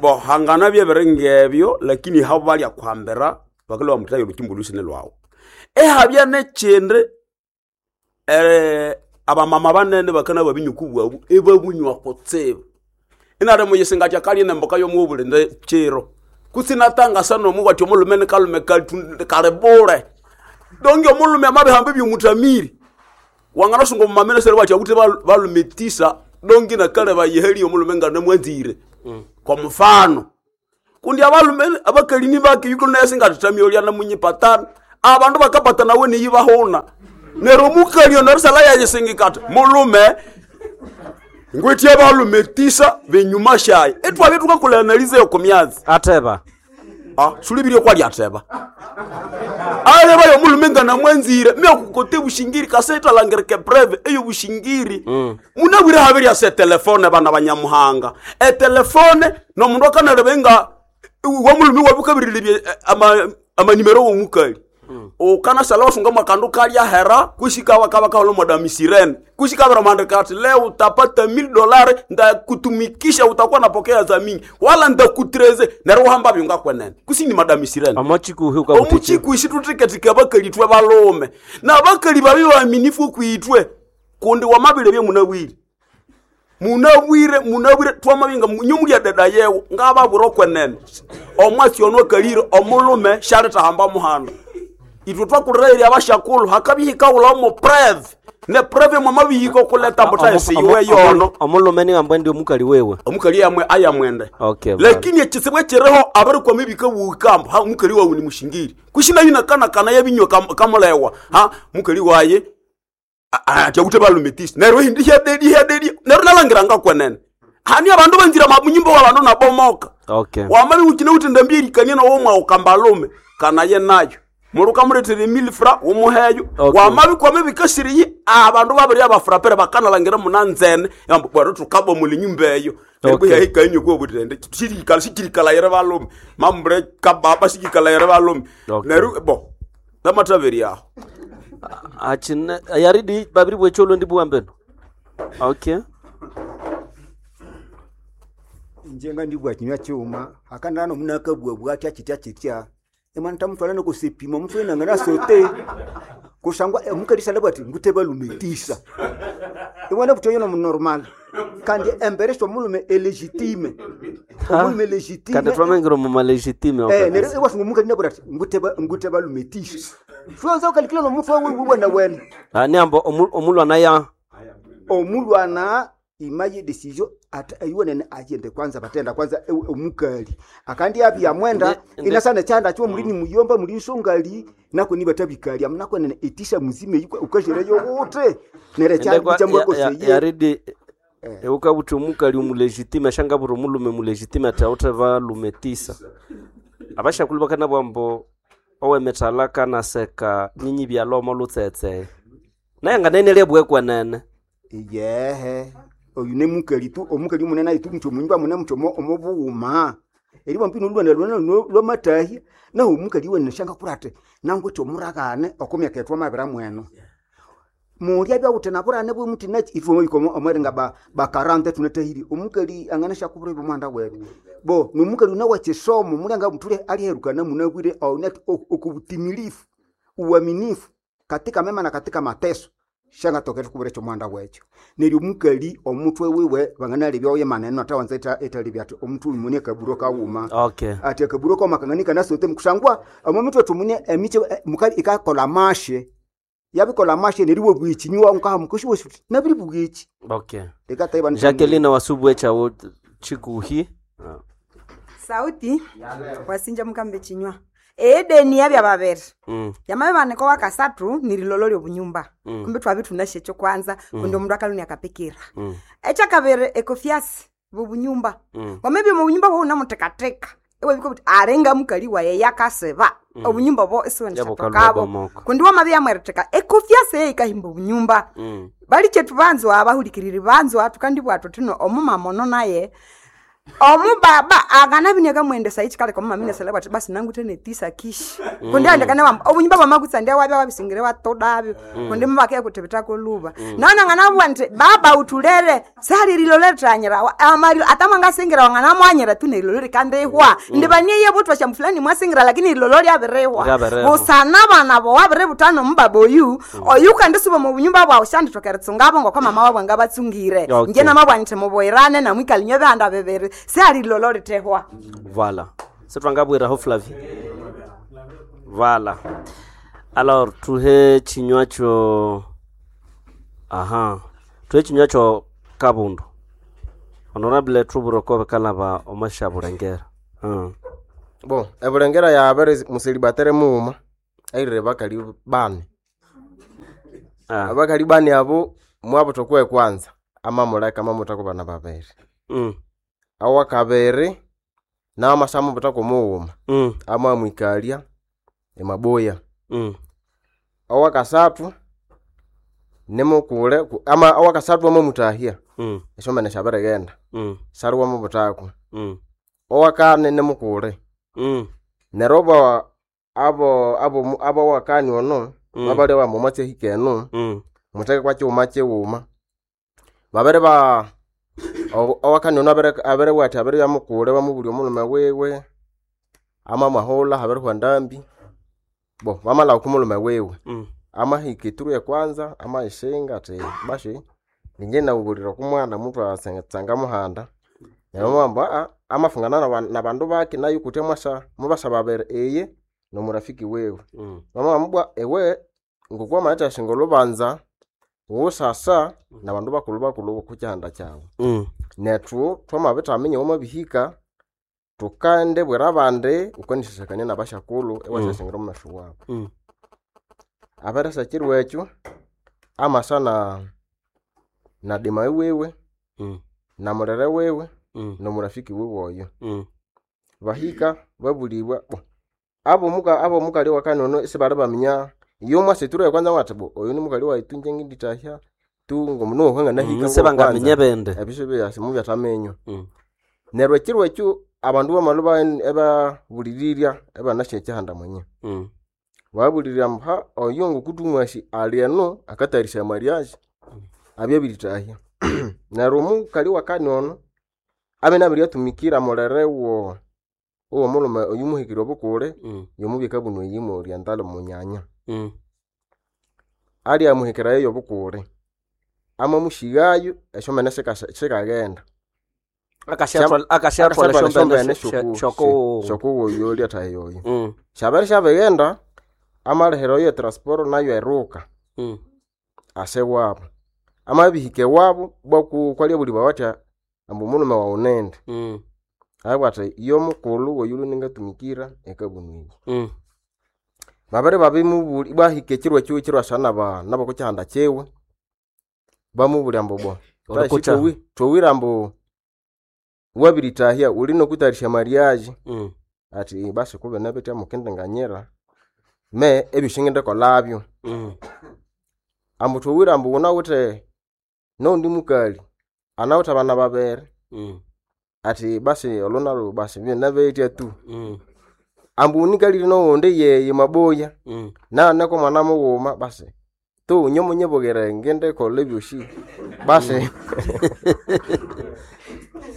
bo hangana byebiri ngebyo lakini habo balya kwambira bakalwa mutayo lukimbo lusine lwawo ehabya nekyindi eh, abamama banene bakana babinyuku bwabu ebabunywa kutsibu inali muyisinga kyakalye nemboka yomuwubulinde kiro kutsinatangasa nomu wati omulume nikalume kali- kalibule donge omulume amabihamba ebyomuthamiri Wanganasunga mumamene sere wacha kuti balumetisa dongi na kale bayeheli omulume nga namwanzire. Kwa mfano kundi abalume abakalini bake yuko naye singatutamiolya na munyipatana abandu bakapatana we niyibahuna nero mukalio nerusala yayisingikata mulume ngwitye balume tisa benyuma shaye etwabye tukakola analize yo komyazi ateba ah sulibirye kwali ateba aleba yo mulume nga namwanzire myakukote bushingiri kaseta langereke breve eyo bushingiri mm. Munabwire habirya se telefone bana banyamuhanga etelefone nomundu akanaleba nga wamulume wabukabirirebye ama amanimero womukali mm. Ukanasala wasunga mwakandu kalya hera kushika wakaba kaolo madami sirene kushika bara mandika ati leo utapata mil dolari ndakutumikisha utakuwa napokea za mingi wala ndakutreze nero uhamba byunga kwenene kusini madami sirene omochikuhi ukabuti omuchikuhi situtiketika abakali twe balume na abakali babi baaminifu kwitwe kundi wamabile bye munabwire munabwire munabwire twamabinga nyumulya dada yewo ngababwira okwenene omwasi ono akalire omulume shalithahamba muhanda itwe twakulirairya abashakulu hakabihika ulaomo preve ne preve mwamabihika okuleta mbutayesi iwe yono omulume ni ambwe ndi omukali wewe omukali yamwe ayamwende okay lakini ekisibu ekiriho abarikwama ebikabuukambo ha mukali wawu ni mushingiri kushina yinakanakana yabinywa kam- kamulewa ha mukali waye atyakute balumetisi neryo hindi hyadedi hyadedi neryo nalangiranga kwenene hani abandu banzira munyumba wa bandu nabomoka okay wamabi ukine uti ndambierikanie nowo mwawukambalume kanaye nayo muluka muletera emilifra wumuheyo Okay. wamabi kwame bikasiriyi abandu babiri abafurapere bakanalangira munanzene yambu bwero tukabomula enyumba eyo Okay. yahikanywe kuobutende sikikala sikirikalayire balume mambre kababa sikikalayire balume neryo bo namataveri aho achine yaridi babiri bwecholo ndi buwambeno okay inje nga ndibwa kinywa kyuma akandana omunakabwa bwatya kitya kitya emwana tamutwala nokusipima omuntu wenanga nasote kusangwa omukali salabwa ati ngute balumetisa imwana butoyo nomunormal kandi embere omulume elegitime omulume legitime kandi twamengira mu malegitime Eh, neryo iwasunga omukali nabwira ati ngute ba- ngute balumetisa shwanza ukalikila nomufu wena wena ni ambo omulwana ya omulwana imaye decision ata ayiwonene ayende kwanza batenda kwanza ewe omukali akandi abya mwenda Nde- nde- inasana chanda chiwo mulini muyomba muli nsongali nako ni batabikali amnako nene itisha muzime yikwa ukashereyo wote nere Ndekwa- cha ya- ya- koseye yaridi eukabuthi omukali omulegitime ashangabura omulume mulegitime ati awuthe balumetisa abashakulu bakanabwa mbu owemithala kanaseka nyinyi byalomo lutsetse naye nganene bwekwenene yehe oyu ne mukali tu omukali munene ayi tu mutyo munyumba mune mutyo omo- omobughuma eriwa mpino lwene lwene lwamatahi naho omukali wene shanga kurate nanguti omuragane okomyaka ethu amabira mweno mulya byawuthe naburane bwemuti nachi ifwe iko omweringa ba bakarante tunatahiri omukali angana shakubura ebyo mwanda wetu bo nomukali una wachisomo mulyanga mutule aliherukana munabwire aonati okubutimilifu uaminifu katika mema na katika mateso shangatokera kubura ekyo mwanda wekyo neryo omukali omutwe wiwe banganalebya oye maneno atawanza etalebya ati omutu uyu mune akaburo kawuma okay ati akaburo kawuma kanganika nasote mukusangwa omo mitwe tumune emiche eh, mukali ikakola mashe yabikola mashe neryo bwichinywa nkaha mukushiwe nabiri bwichi okay Ndikataiba Jacqueline wasubwe chawo chikuhi sauti wasinja mukambe chinywa edeni yabya babiri Mm. yamabe baneko wakasathu nirilolo lyobunyumba Mm. kumbe twabi thunashe ekyo kwanza Mm. kundi omundu akaluni akapikira Mm. ekyakabiri ekofiasi bobunyumba Mm. wamabya omubunyumba bwounamutekateka ewabika buti arenga mukali waye yakasiba Mm. obunyumba bo Yabukalwa isiwenishakabo bomoka. kundi wamabya yamweritheka ekofiasi eyo ikahimba obunyumba Mm. bali chetu banzwa abahulikiriri banzwa tukandibwathu thino omumama ono naye omubaba akanabinia kamwendesa ichikaleka omumama inesele bwati basi nanguthe netisa kishi Mm. kundi andekane wamba obunyumba bwamakutsa ndiye wabya wabisingire watodabyo Mm. kundi mubakeye kuthibithako luba Mm. naona nganabwa nti baba utulere salililolethanyira amalilo atamwangasingirawa nganamwanyira tu nerilolo likandihwa Mm. ndibanieye butwa shamfulani mwasingira lakini ililolo lyabirihwa Lyabirihwa. busana bana bo wabiributana omubaba oyu oyu kandisuba omubunyumba bwawu shandithoka eritsungabo ngoko mama wabwe ngabatsungire Okay. nje namabwa nthi muboyirane namwikalinywe bihanda bibiri sialilolo lithehwa Voilà. Setwangabwiraho Flavie. Voilà. Alors tuhe chinywa cho Aha, twechinywa kyo kabundu honorable truburo bikalaba omasha Bulengera. Mm. Bo, ebulengera yabere muselibatere mughuma airire bakali bane. Abakali bane abo mwabutha okwe kwanza amamuleka amamutha bana babiri. Mm. Awakabiri nawe amasya mughuma mm. amamwikalya emaboya. Mm. Owakasathu nimukule ku- ama owakasathu amamutahya Mm. esyombene syabirighenda Mm. sali wamubuthako. Mm. Owakane nimukule Mm. neryo abo abo abo abowakani ono Mm. babalya bambu omwatsi ahika eno Mm. mutheke kwa kighuma kighuma babere ba ow- owakani ono abere abere athi abiribya mukule bamubulya omulhume wiwe amamwahulha habirihwa ndambi bo bamalhaba okwa mulhume wiwe Mm. amahika eturu ekwanza amayisinga athi bashi ninje nawubulira okwa mwana muthwa muhanda neryo bamubwira ambu aa amafungana naba- nabandu bake nayu kutya mwasa mubasa babiri iye nomurafiki wiwe Mm. bamubwira bwa iwe ngokwa wamathasinga olhubanza wusasa nabandu bakulhu bakulhu okwa kyihanda kyawu Mm. nethu twamabithaminya wamabihika thukandibwira abandi wukanisyasyakania nabasyakulhu iwasyasingira omu masyo wabu Mm. abirisa ekiro ekyo amasa na na dima wiwe Mm. na mulere wiwe Mm. nomurafiki wiwe oyo Mm. bahika babulibwa bo abomuka abomukali wakani ono isibali baminya iyo mwasa eturo ekwanza wathi bo oyo nimukali wayi tu inje ngindithahya tu ngomuno Mm, sibangaminya bende. ebisyo mubyataminywa Mm. neryo ekiro ekyo abandu bamalhu ba- ebabulirirya ebanasya ekyihanda mwenye Mm. babulirya ambu ha oyo ngokuthumwasi ali eno akatayarisya mariage abya abirithahya neryo omukali wakani ono abya inabiryatumikira mulere wo owomulhume oyu muhikire obukule Mm. yomubya ekabunu eyi mu oriental munyanya Mm. alya muhikirayo yobukule amamushighayo esyomene sikasa- sikaghenda Akasyathwala- akasyathwala esyombene syo- syokuwu- syokuwuyo lyathaha yoyo Mm. syabere syabighenda amalihira oyo etransport nayo eruka Mm. ase wabu amabihika ewabu bwaku kwalyabulibwa batya ambu omulhume wawu nindi Mm. abwa athi iyo mukulhu woyulhu ningatumikira ekabunu eyi Mm. babere babimubuli bwahika ekiro ekyo ekiro asa naba nabokukyihanda kyiwe bamubulya ambu bo Olikucha. thowire ambu wabiritahya wuli nokutayarisya mariage Mm. athi basi kubine bitya mukindinganyira me ebyosi ngindikolabyo Mm. ambu thowire ambu wunawithe noundi mukali anawithe abana babiri Mm. athi basi olho nalhu basi byona bitya tu Mm. ambu unikalire nowundi yeye maboya Mm. nayo ko mwana mughuma basi tu inye munyibugire ngindikolha ebyosi basi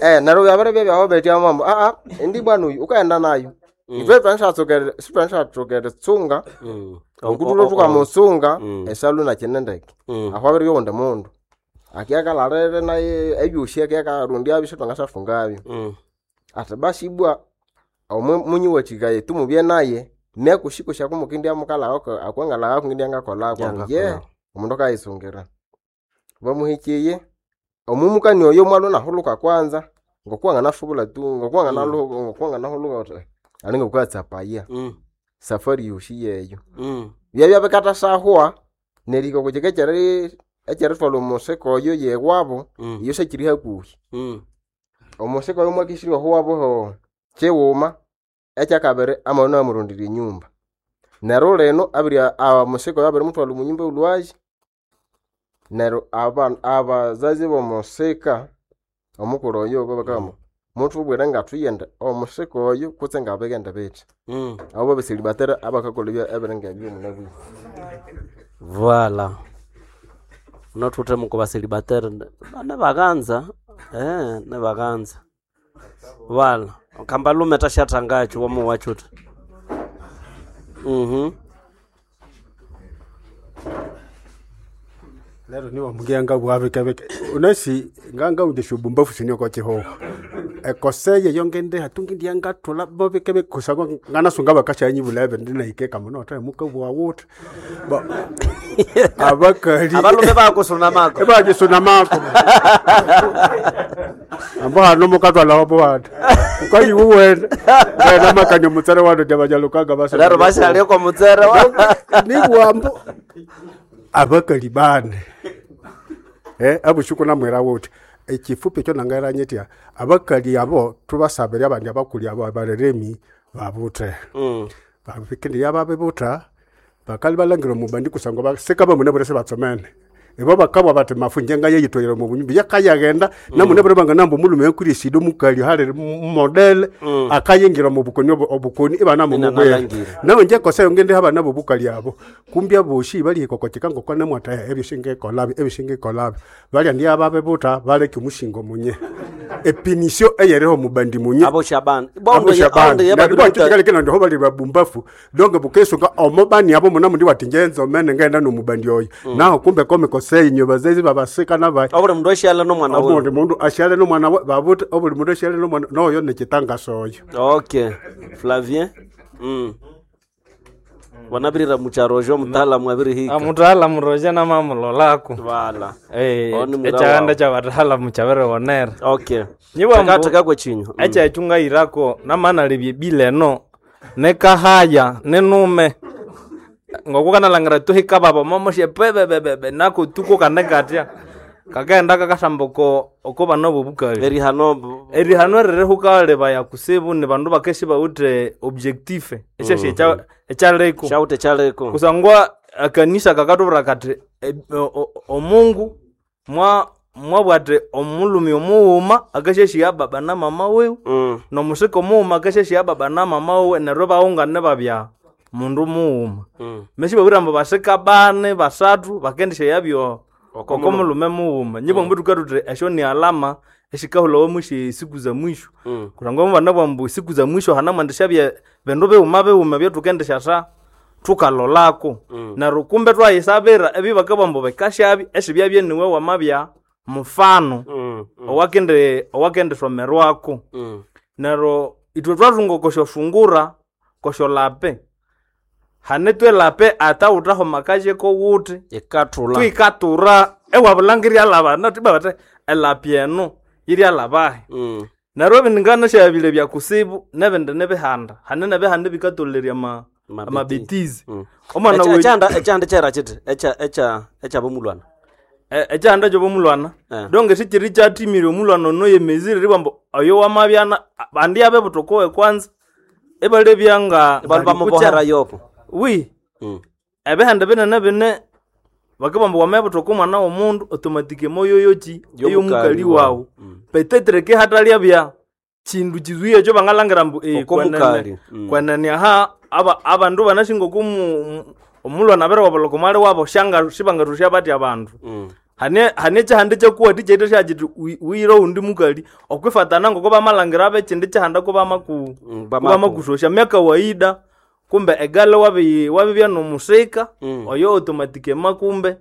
eh neryo byabere byabyaho betya mambo aa indi bwana oyu ukaghenda nayo Mm. ithwe twanisyatsokere sithwanisyatsokere eritsunga Mm. okutulho O- o- o- thukamusunga Mm. esalu nakine ndeke Mm. aho abiribya owundi mundu akiakalalire naye ebyosi akiakarundyabyo sithwangasyafungabyo Mm. athi basi ibwa omwe munyiwathikaye tu mubye naye myakusikosya kumukindya mukalhagha akwangalhagha kungindya ngakolhako ambu ye Yangakolha. omundu akayisungira bamuhikiye omumukani oyo mwalhu nahulhuka kwanza ngokuwanganasubula tu ngokuwanganaluhuka ngokuwanganahulhuka uthi alinga wukatsapaya Mm. safari yosi yeyo Mm. byabya bikathasahwa nerihika okwa kyika ekyeri ekyerithwalha omusika oyo yewabo Mm. iyo syakiri hakuhi Mm. omusika oyo mwakisirya ohuwabo ho kighuma ekyakabiri amabya inamurondera enyumba neryo lino abiri omusika oyo abirimuthwalha omu nyumba olhwazi neryo aba- abazazi bomusika omukulhu oyo babakagamba muthubwire ngathuyende omusika oyo kutse ngabighende bithi Mm. abo babeselibatera abakakolha ebya- ebiringa ebyo munabwire Voilà. Unathuthe muko baselibateri nebaghanza eh nebaghanza. Voilà. Kambalume tashathangacho wamuwachuta. Mhm. Lero niwa mungia nga bwabikebeke unasi nganga undisho bumbafu sinyo kwa chihoho Ekoseye yo ngendiha tungindiya ngathula bobike bikusangwa nganasunga bakashanyibula ebindi nahikeka muno othe mukabugha wuthi Bo- abakali Abalume bakusunamako. Bajisunamako ambo hano mukatwalawo bwati ukayiwuwene wena makanya omutsere wano jabajalukaga basa Lero bashalia kwa mutsere wa nibwambo abakali bane eh abushuku namwira wuthi ekifupi ekyo nangairanyetya abakali abo tubasabire abandi abakuli abo abareremi babuthe Mm. babikindi yababibuta bakali balangira omubandi kusangwa basika bamune bure sebatsomene ibo bakabwa bati mafu njenga yeyitoyere mu bunyumbi yakayagenda mm. namune bure banganamba omulume yakurisida omukali hali modele Mm. akayingira mu bukoni obu- obukoni ibana mumubwere Inanalangira. nawe nje kosa yonge ndi abana bobukali abo kumbya boshi bali kokokeka ngokwana mwata ebyo singekolabi ebyo singekolabi balya ndi ababebuta baleke omushingo munye epinisio eyereho mubandi munye Abo shabani. Bondo ye- ondo ye babiri buta- kino ndiho bali babumbafu donge bukesunga omobani abo muna mundi wati njenzo mene ngenda nomubandi oyo Mm. naho kumbe komikosei inyo bazezi babasika nabayi Obuli mundu ashyala nomwana we. obundi mundu asyale nomwana we babuta obuli mundu asyale nomwana noyo nekitangaso oyo Okay. Flavien. Mm. Wanabirira mucharojo mutaalamu abirihika. Mutaalamu roja namamulolako Wala. Eh, Oni mwira ekyaganda wawu. kyabataalamu kyabiriwonera Okay. Takathekako ekinyu. Mm. ekyekyo ngayirako namanalebya ebila eno nikahaya ninume ngokukanalhangira tuhika baba momosye pebebebebe nako tuko kane katya kakaghenda kakasamba oko oko bana bobukali erihano erihano ririhukalebaya kusibu ni bandu bakeshe bawithe objectif esyesye Mhm. ekyaliko Shawuthe ekyaliko. kusangwa akanisa kakatubwira kathi e- o- o- omungu mwa mwabwa athi omulumi omughuma akasyasya baba na mama wiwe Mm. nomusika omughuma akasyasya baba na mama wiwe neryo ibawungane babya mundu mughuma Mm. mesi babwira ambu basika bane basathu bakendisya Oko oko mulume mughuma nyibwa mbu tukathuthi esyo ni alama esikahulhawa mwisyo esiku za mwisho Mm. kusangwa mubana mbu siku za mwisho hanamwendesya bindu bighuma bighuma ebyathukendisya thukalolako Mm. neryo kumbe twayisabira ebibakabugha ambu bikasyabi esibyabya niwe wamabya mufano Mm. Mm. owakindi owakendisomerwako Mm. neryo ithwe twathunga okwasyosungura kwasyolape hane twelape ata wuthaho akajeko wuthi Ikathula. twikatura ewabulangirya laba tibabate elapi eno yiryalabahi Mm. neryo ebindi nganasyabile byakusibu nebindi nibihanda hane nebihanda bikatolerya ama amabetizi Mm. omwana Echa- we- ekyanda ekyanda kyera kiti echa echa ekyabomulwana. E- ekyanda kyobomulwana Eh. donge sikyiri kyathimire omulwana ono yemezire ribambu oyo wamabyana bandi abe butokowe kwanza ibalebya nga Ibalu bamubohera yoko. wi Mm. ebihanda binene bine bakabamba wamabuthoka omwana w'omundu automatic moyoyoki ey'omukali wawu petetre ke hatalyabya kindu kizuya ekyo bangalangira mbu eh, Oko kwenene mukali. Mm. kwenene aha aba abandu banashinga okumu omulwana abiriwabalhoka omwali wabo shanga sibangathusya batya abandu Mm. hane hane kyihanda kyakuwathi kyaithe syakyiti wi- wiyire owundi mukali okwifatana ngoko bamalangira bekindi kyihanda kubamaku Mm, kubamakusosya myakawaida kumbe egale wabi wabibya nomusika Mm. oyo automatic emakumbe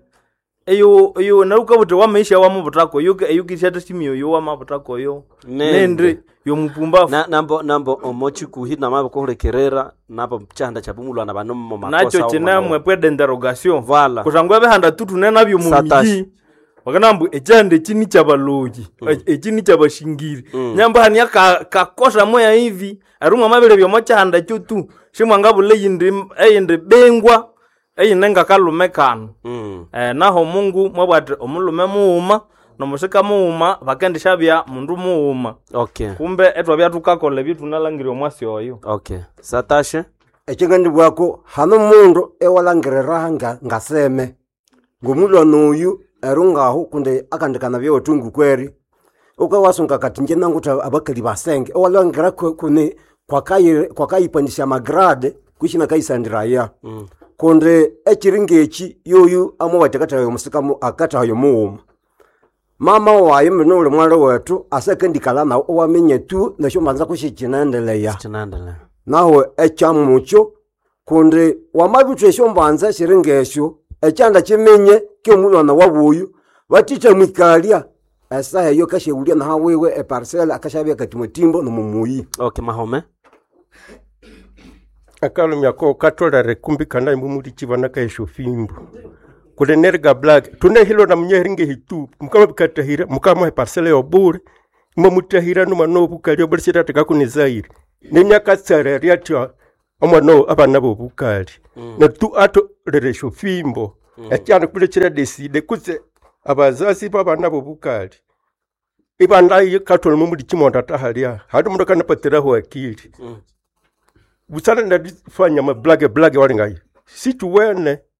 eyo eyo neryo wukabuthi wamaisha wamubuthako eyo eyo kisyathasimiya oyo wamabuthako oyo nende yomupumbafu Na nambo nambo omochikuhi namabikuhulikirira nabo kyihanda kyabomulwana bano mu makosa nakyo kinemwe pwe d'interrogation Voilà. kusangwa ebihanda tutune nabyo mu Satashi. miji bakanambu ekyihanda eki ni kyabaloyi eki ni kyabashingiri nyambu hania ka- kakosa moya hivi erumwa mabere byomo kyihanda ekyo tu shimwangabula eyindi eyindi bengwa eyine ngakalume kano Mm. eh, naho mungu mwabwa ati omulume mughuma nomusika mughuma bakendishabya mundu mughuma Okay. kumbe etwabya thukakolha ebyothunalangirya omwasi oyo Okay. Satashe. Ekyingandibwako hano mundu ewalangirira nga ngaseme ngomulwana oyu erungahu kundi akandikana byewethu kweri ukawasunga kati nje nanguthi abakali basenge ewalhangira ku- kuni kwakayi- kwakayipandisya amagrade kwishina kayisandiraya Mm. kundi ekiri ngeki yoyu amubati akathayo omusika akathayo mughuma mama wayi mino uli mwali wethu asakendikala nawu owaminya tu nesyo mbanza kusikyinaendeleya Kinaendelea. naho ekyamukyo kundi wamabithwa esyombanza siri ngesyo ekyanda kiminye kyomulwana wabuyu batitha mwikalya Esaha eyo akasyaghulya naha wiwe eparcela akashabya katimbatimba nomumuyi. Okay, Mahome. Akalumya ko katolere kumbikana imumuli vana kaesho fimbo kuli neriga black tunehilo na munyeheringe hitu mukama bikatahira mukama eparcela yobule imamutahira nomwana obukali obule sitateka kunizaire nenyakatsererya atya omwana o- abana bobukali Mm. netu atolere esyo fimbo Mm. ekyana kule kiradeside kutse abazazi babana bobukali ibanda katole mumuli chimonda tahalya hali mundu akanapatiraho akili Mm. busana ndadifanya mablage blage walingayo sichuwene.